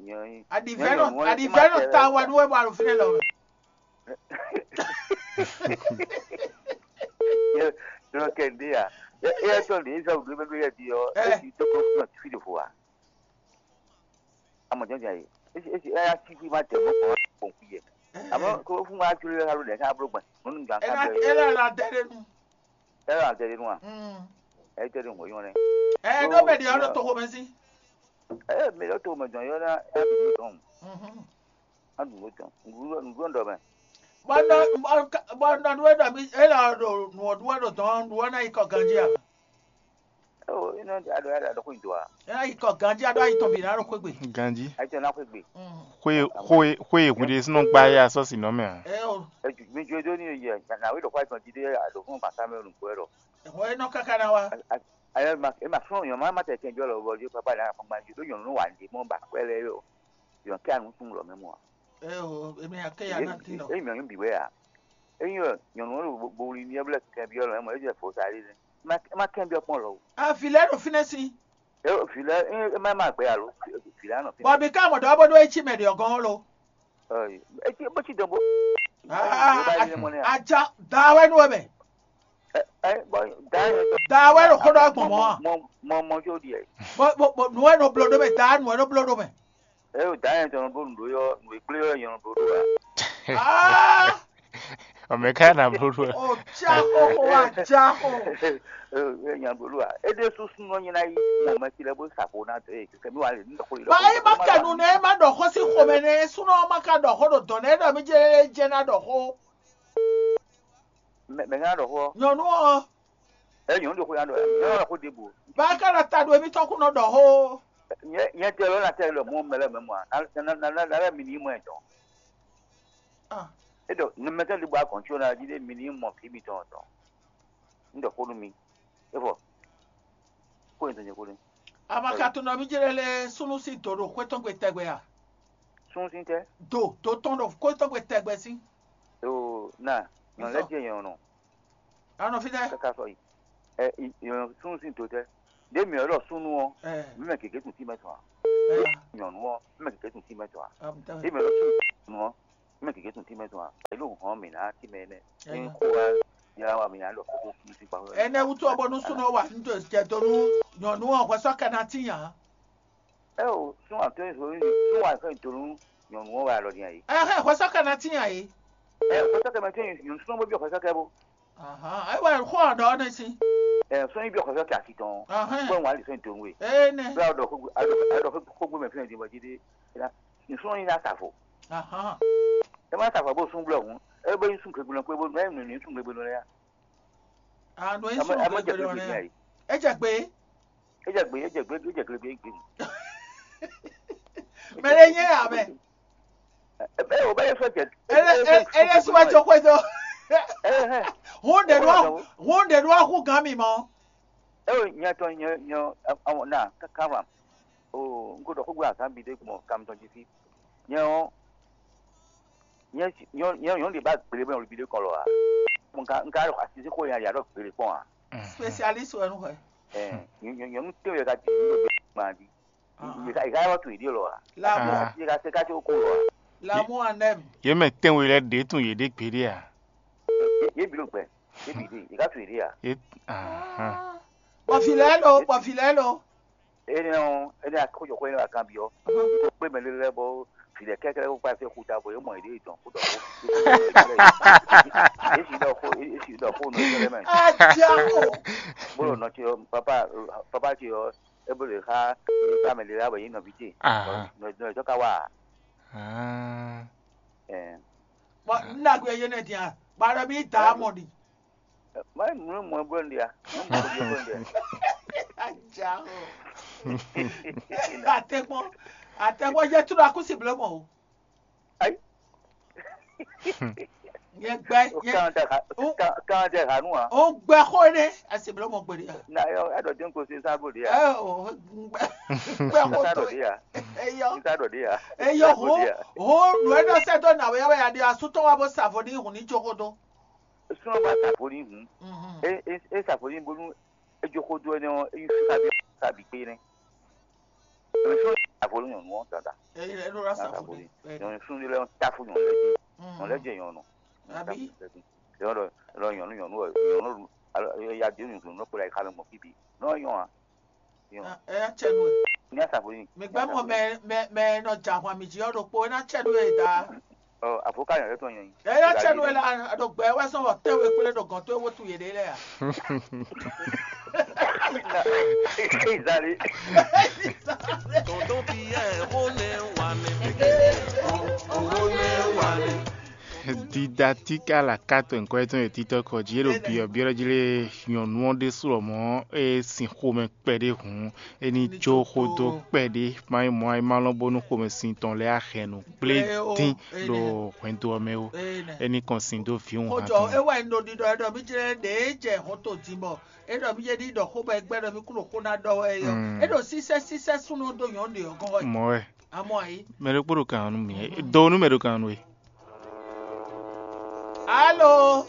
nyɔnu. Adivɛnɔ adivɛnɔ ta wa nu wɛ bɔ alo fi nɛ lɔ. Nyɔnu kɛndé à? Ɛ ɛ tɔn lè zɔ ɖo mɛ ɖo yɛ di ɔ. Ɛ. Esi tó kó fún ɔ fi ɖo fo wa. Amɔ jɔnjɔn ayi. Esi esi ɛ asi fi ma tɛ mɔ kɔ kɔn fi yɛ. Amɔ kó fún wa juli alo lɛ ká blo gbɛn. Mɔnu gan ká Ena bɛ. Ena la dɛ de nu. Ɛ la tɛ de nu a? Mm. Ɛ tɛ de nu yɔn nɛ. Ɛ do mɛ de ɔlɔ to ko mɛ si. Ɛ mi lɔ to mɛ jɔn yɔ na ɛ mi dɔn. Mhm. A dun ko jɔn. Ndu ndu dɔ mɛ. Bɔ nɔ bɔ nɔ nu e dɔ mi e la do nu o du e do dɔn nu o na yi kɔ ganji a? Eo, inɔ ado ado ado ko do a? E na yi kɔ ganji ado ayi tɔn bi na do xwe gbe. Ganji. Ayi tɔn na xwe gbe. Mm. Xwe xwe xwe hun de sinɔ gba ya sɔ si nɔ mɛ a? E o. E ju mi jo do ni ye na we do xwa tɔn ji de ado fún ba Cameroun ko ero. Ho e nɔ kaka na wa. Ayo ma e ma fún yɔn ma ma tɛ kɛnjɔ lɔ bɔ jo papa na kpɔn gbanji do yɔn nu wa ndi mɔ ba kwɛ lɛ yo. Yɔn kɛ anu tun lɔ mɛ mɔ. E o, e mi ake ya na ti lɔ. E mi yɔn bi wɛ a? Eyin ɔ nyɔnu ɔ́ ɖo bowlin ní ɛ́ blɛ́ kɛnbyɔ́ lɔ̌, é mɔ é jɛ vo sa ɖé nɛ́. É má é má kɛnbyɔ́ kpɔ́n lɔ o. Avi lɛ́ɛ ɖo fínɛ́ sín. É vǐ lɛ́ɛ é é má má gbɛ alo vǐ lɛ́ɛ nɔ fínɛ́. Bɔ mi ka mɔ ɖɔ bó ɖó é cí mɛ ɖě ɔ́ gɔ́n ó lo. Ɔ́, é cí bó cí dɔn bó. Aa, Yorùbá yìí mɔ nɛ. Aja da wɛ nú wɛ mɛ. Ɛ ɛ bɔ da yɛ. Da wɛ ɖo xó ɖɔ gbɔn mɔ. Mɔ mɔ mɔ jó ɖiɛ. Bɔ bɔ bɔ nǔ wɛ nɔ bló ɖó mɛ, da nǔ wɛ nɔ bló ɖó mɛ. Ɛ o da yɛ tɔn bó nǔ ɖó yɔ nǔ e gblé yɔ yɔn ɖó ɖó wa. Aa. Ɔmɛ ká na bló ɖó. O ja xo xo wa ja xo. Nya bló ɖó wa. É ɖé súsú nɔ nyi ná yí mɔ mɛ ti lɛ bó sa xo ná dé kɛkɛ mi wa lè ní dɔkó lè. Ba é má kɛ nu nɛ é má ɖɔ xó sí xomɛ nɛ é súnɔ má ka ɖɔ xó ɖo dɔn nɛ é ɖɔ mí jɛ jɛ ná ɖɔ xó. Mɛ mɛ ká ɖɔ xó. Nyɔnu ɔ. Ɛ nyɔnu ɖo xó ya ɖɔ ɛ nyɔnu ɖo xó ɖe bo. Ba é ká ɖɔ ta ɖo émítɔn kún nɔ ɖɔ xó. Nyɛ nyɛ tɛ lɔ na tɛ lɔ mɔ mɛ lɛ mɛ mɔ a na na na na lɛ mi ni mɔ ɛ dɔn. Ah. E ɖɔ numɛtɔ ɖi bɔ agɔn tso na jí ɖe mi ní mɔ vǐ mitɔn tɔn. Un ɖɔ xó nú mi. É vɔ. Xó nyi tɔn nyɛ xó nú. Amakatunɔ mi jɛ lɛ súnú sí dǒ ɖo xwé tɔn gbe tɛgbɛ a? Súnú sí tɛ? Do do tɔn ɖo xwé tɔn gbe tɛgbɛ sí. Yoo na nyɔnu lɛ jɛ nyɔnu. Anɔ fi tɛ? Kaka sɔ yi. Ɛ nyɔnu súnú sí do tɛ? Ɖé mi ɔ́ ɖɔ súnú ɔ́, mi mɛ gěgé tún sí mɛ tɔn a? Nyɔnu ɔ́, mi mɛ gěgé tún sí mɛ tɔn a? Ɖé mi ɔ́ ɖɔ súnú ɔ́, mɛ gěgé tún tínmɛ tɔn a? Elu hɔn mǐ ná tínmɛ nɛ. Ní kó wá yá wa mǐ ná ɖɔ kókó kú sí kpá. Ɛnɛ wútu ɔ́ bónú súnɔ wa nú jɛ dó nú nyɔ̌nu ɔ́ hwɛsɔ́ kɛ ná tín ǎ. Ɛ o sún àtɔ́ ìṣòro ní sún wa fẹ́ dó nú nyɔ̌nu ɔ́ wa lɔ ní ayé. Ɛhɛn hwɛsɔ́ kɛ ná tín ǎ é. Ɛ hwɛsɔ́ kɛ mɛ tín nyɔ̌nu súnɔ bó bí hwɛsɔ́ kɛ bó. Ahan, ayi wa xɔ ɔdɔ ne si. Ɛ sɔnyi bí hwɛsɔ́ kɛ asi tɔn. Ahan. Bó wà lè sɔnyi dó nú we. Ee ne. Bó wà dɔ kó gbé mɛ fún ɛ dín bɔ jí dé. Nsúnɔ nyi ná sa vo. Ahan. E ma sa vo bó sún gblɔ hǔn, e bó nyi sún gbegbe kpé bó nɔ e nɔ nyi sún gbegbe nɔ ya. Anu e sún gbegbe nɔ ya. E jɛ gbe. E jɛ gbe, e jɛ gbe, e jɛ gbe gbe gbe. Mɛ ɖe nyɛ ya mɛ. Ebe o bɛ ye fɛ jɛ. Ele ele ele suma tso xwedó. Hun ɖe nua hun ɖe nua hu gan mi mɔ. Eo nyɛ tɔn nyɛ nyɛ awɔ na kaka wa. O n ko ɖɔ xogbe azan bi de gbɔn kam tɔn jí fi. Nyɛ ɔ nyɛ nyɛ nyɛ nyɛ de ba gbele bɛ olubi de kɔn lɔ a. Mo nka nka ɖɔ asisi xo ya ya ɖɔ gbele kpɔn a. Spécialiste wɛ nu xɛ. Ɛ nyɛ nyɛ nyɛ nu te yɛ ka di nu bɛ gban di. Yɛ ka yɛ ka to ìdí lɔ a. L'amour. Yɛ ka se ka se ko lɔ a. L'amour en aime. Yě mɛ tɛnwe lɛ́ɛ ɖě tún yě ɖě gbeɖé a? Yě bi ló gbɛ. Yě bi dé. Yě ka to ìdí a. Yě ahan. Bɔfilɛ lo, bɔfilɛ lo. Ene ɔ, ene akójọ kó ene wa kan bi ɔ. Kó kpé mɛ lé lɛ bɔ filɛ kɛkɛ kó kpa se kú ta bɔ yě mɔ ìdí ìtàn kó dɔ kó. Yě si dɔ kó, yě si dɔ kó nɔ ìtàn lɛ mɛ. Adiako. Bolo nɔ ti ɔ, papa, papa ti ɔ, e bolo xa, e ka mɛ lé la bɔ yě nɔ vi te. Ahan. Nɔ nɔ ìtàn ka wa. Ah. Ɛ. Bɔn n ɖagbe yé nɛ dia, bɔ a ɖɔ mi da mɔ ɖi. Má nyí mǔ mɔ bó ń ɖe a. Má mú bó ń ɖe a. Ajá o. Atɛgbɔn, atɛgbɔn yɛ tu ɖo akúsi bló mɔ o. Ayi. Yɛ gbɛ, yɛ. Kàn tẹ ha, kàn tẹ ha nù a. O gbɛ xó ne, asi bló mɔ gbede a. Na yɔ, ɛ dɔ dín kò sí sábò de a. Ɛ o, gbɛ, gbɛ xó Sísá tó. Dɔ de a. Eyɔ, Sísá dɔ de a. Eyɔ ho, ho, nù ɛ nɔ sɛ dó nà wɛ yɛ wɛ ya ɖi asútɔ wa bó sa vo ní hùn ní tso xó dó. Súnmọ́ bá sàfó ní hùn. Mhm. É é é sàfó ní bónú é jó xó dó ɛnɛ ɔ́, é nyí fífá bí fífá bí kpé nɛ́. Nyɔ̌nu sún ní sàfó ní nyɔ̌nu ɔ́ dandan. Ɛ ɛ ló rà Nyɔ̌nu sàfó sàfó ní ní. Ɛ nyɔ̌nu sún ní lɛ́ ɔ́ táfú nyɔ̌nu lɛ́ɛ jí. Nyɔ̌nu lɛ́ɛ jɛ nyɔ̌nu. Àbí? Lɔ nyɔ̌nu nyɔ̌nu ɔ́ nyɔ̌nu alo ya dé nyɔ̌nu ló kplá yi xá mɛ gbɔn fí bǐ. Nɔ nyɔ a. Nyɔ. Ɛ yá tsɛ nú ɛ. Ní a sàfó ní. Mi gbɛ mɔ mɛ mɛ mɛ nɔ dza hwan mi jí ɔ́ ɖokpó é ná tsɛ nú ɛ da. Ɔ avocat yɛn lɛ tɔn yɛn. Ɛ yá tsɛ nú ɛ la ɖo gbɛ wɛ sɔn wɔ tɛ́ we kplé ɖo gɔn tó e wotu yě ɖe lɛ a. Izali. Tonton Pierre, wo nɛ wa nɛ. Wo nɛ wa nɛ. Didactique à la carte, nkwɛ́ tɔn e títɔ́ kɔ jí é ɖo byɔ̌byɔ́ jí lé nyɔ̌nu ɔ́ ɖésú lɔ mɔ̌ é sin xomɛ kpɛɖé hǔn é ní jó xó dó kpɛɖé má nyí mɔ̌ ayí má lɔn bónú xomɛsin tɔn lɛ́ɛ axɛnu kplé dín ɖo hwɛndo ɔ́ mɛ ó. É ní kɔn sin dó vǐwun hán tɔn. Xojɔ é wɛ un ɖo ɖiɖɔ é ɖɔ mí jlɛ́ ɖě é jɛ hɔn to din bɔ é ɖɔ mí jɛ ní ɖɔ xó bɔ é gbɛ́ ɖɔ mí kún ɖo xó ná ɖɔ wɛ é ɔ́. É ɖo sísɛ́ sísɛ́ súnnu dó nyɔ̌nu ɖě ɔ́ gɔ́n wɛ. Mɔ̌ wɛ. Amɔ ayí. Mɛ ɖokpó ɖo kan nú mì. Do nú mɛ ɖo kan nú we. Alo.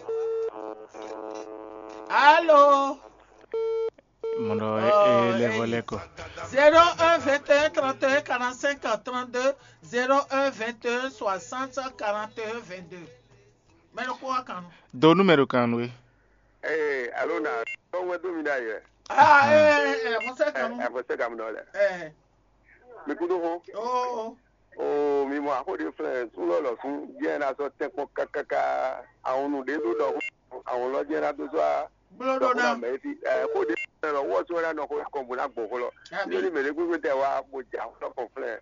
Alo. Mɔɖɔ e le vɔ lɛ kɔ. Zéro un vingt et un trente et un quarante-cinq trente-deux, zéro un vingt et un soixante quarante et un vingt-deux. Mɛ ɖokpó wá kan nú. Do nú mɛ ɖo kan nú we. Ee, alo na tɔn wɛ dó mi ɖ'ayǐ wɛ. Ah, ee, ee, xɔsɛ kan nú. Ɛ xɔsɛ kan nɔ lɛ. Ee. Mi kúdó xó. Oo. Oo, mi mɔ axó ɖé flɛ́ súnlɔ́ lɔ sún jẹ́ ná sɔ́ tɛ́nkpɔ́n kákáká. Àwọn nǔ ɖé ɖó ɖɔ xó. Àwọn lɔ jẹ́ ná dó sɔ́ a. Bló ɖó ná. Mɛ fi ɛ xó ɖé flɛ́ lɔ wɔ sɔ́ ná nɔ xó kɔn bó ná gbɔn xó lɔ. Nítorí mɛ ɖé gbégbé tɛ wá bó jɛ axó lɔ kɔn flɛ́.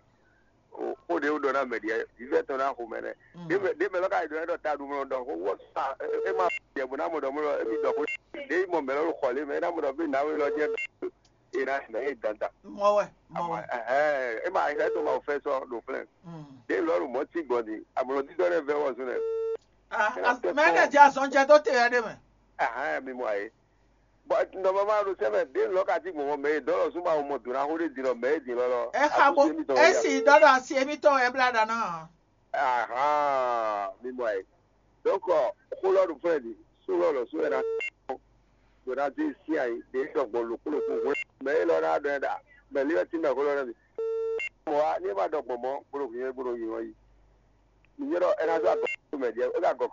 Xó ɖé wó ɖɔ ná mɛ ɖiɛ vívɛ́ tɔn ná xo mɛ nɛ́. Ɖé mɛ lɔ ka yi ɖɔ ɛ ɖɔ ta ɖu mlɔ ɖɔ xó wɔ sa é ma jɛ bó ná mɔ ɖɔ mlɔ é mi ɖɔ xó. Ɖé mɔ mɛ lɔ ɖo xɔ lé mɛ é ná mɔ ɖɔ bí nǎwe lɔ jɛ é ná mɛ é dandan. Mɔ wɛ, mɔ wɛ. Ɛhɛn, é ma é tɔn ma fɛ sɔ ɖo flɛn. Ɖé lɔ ɖo mɔ tí gbɔn di amlɔ dídɔ ɖɛ vɛ wɔ zun nɛ. Ah, mɛ lɛ jɛ azɔn jɛ dó te ya ɖé mɛ. Ɛhɛn, mi mɔ ayé. Bɔ nɔmɔma ɖo sɛmɛ ɖe lɔ ka ti gbɔn mɛ e dɔlɔ zun ma mɔ dona xo ɖe din lɔ mɛ e din lɔ lɔ. Ɛ xa bo esi dɔlɔ asi emitɔn wɛ bla ɖa ná. Ahan, mi mɔ ɛ. Donc xo lɔ ɖo fún ɛ di, so lɔ lɔ so ɛ na. Dona ti si ayi ɖe sɔ gbɔn loko loko hwe mɛ e lɔ na ɖɔ ɛ ɖa mɛ li wɛ ti mɛ xo lɔ na mi. Mɔ wa ni e ma ɖɔ gbɔn mɔ gbolo hwi gbolo yi wɔn yi. Mi nyɛ ɖɔ ɛ na zɔ agɔ mɛ diɛ e ka gɔ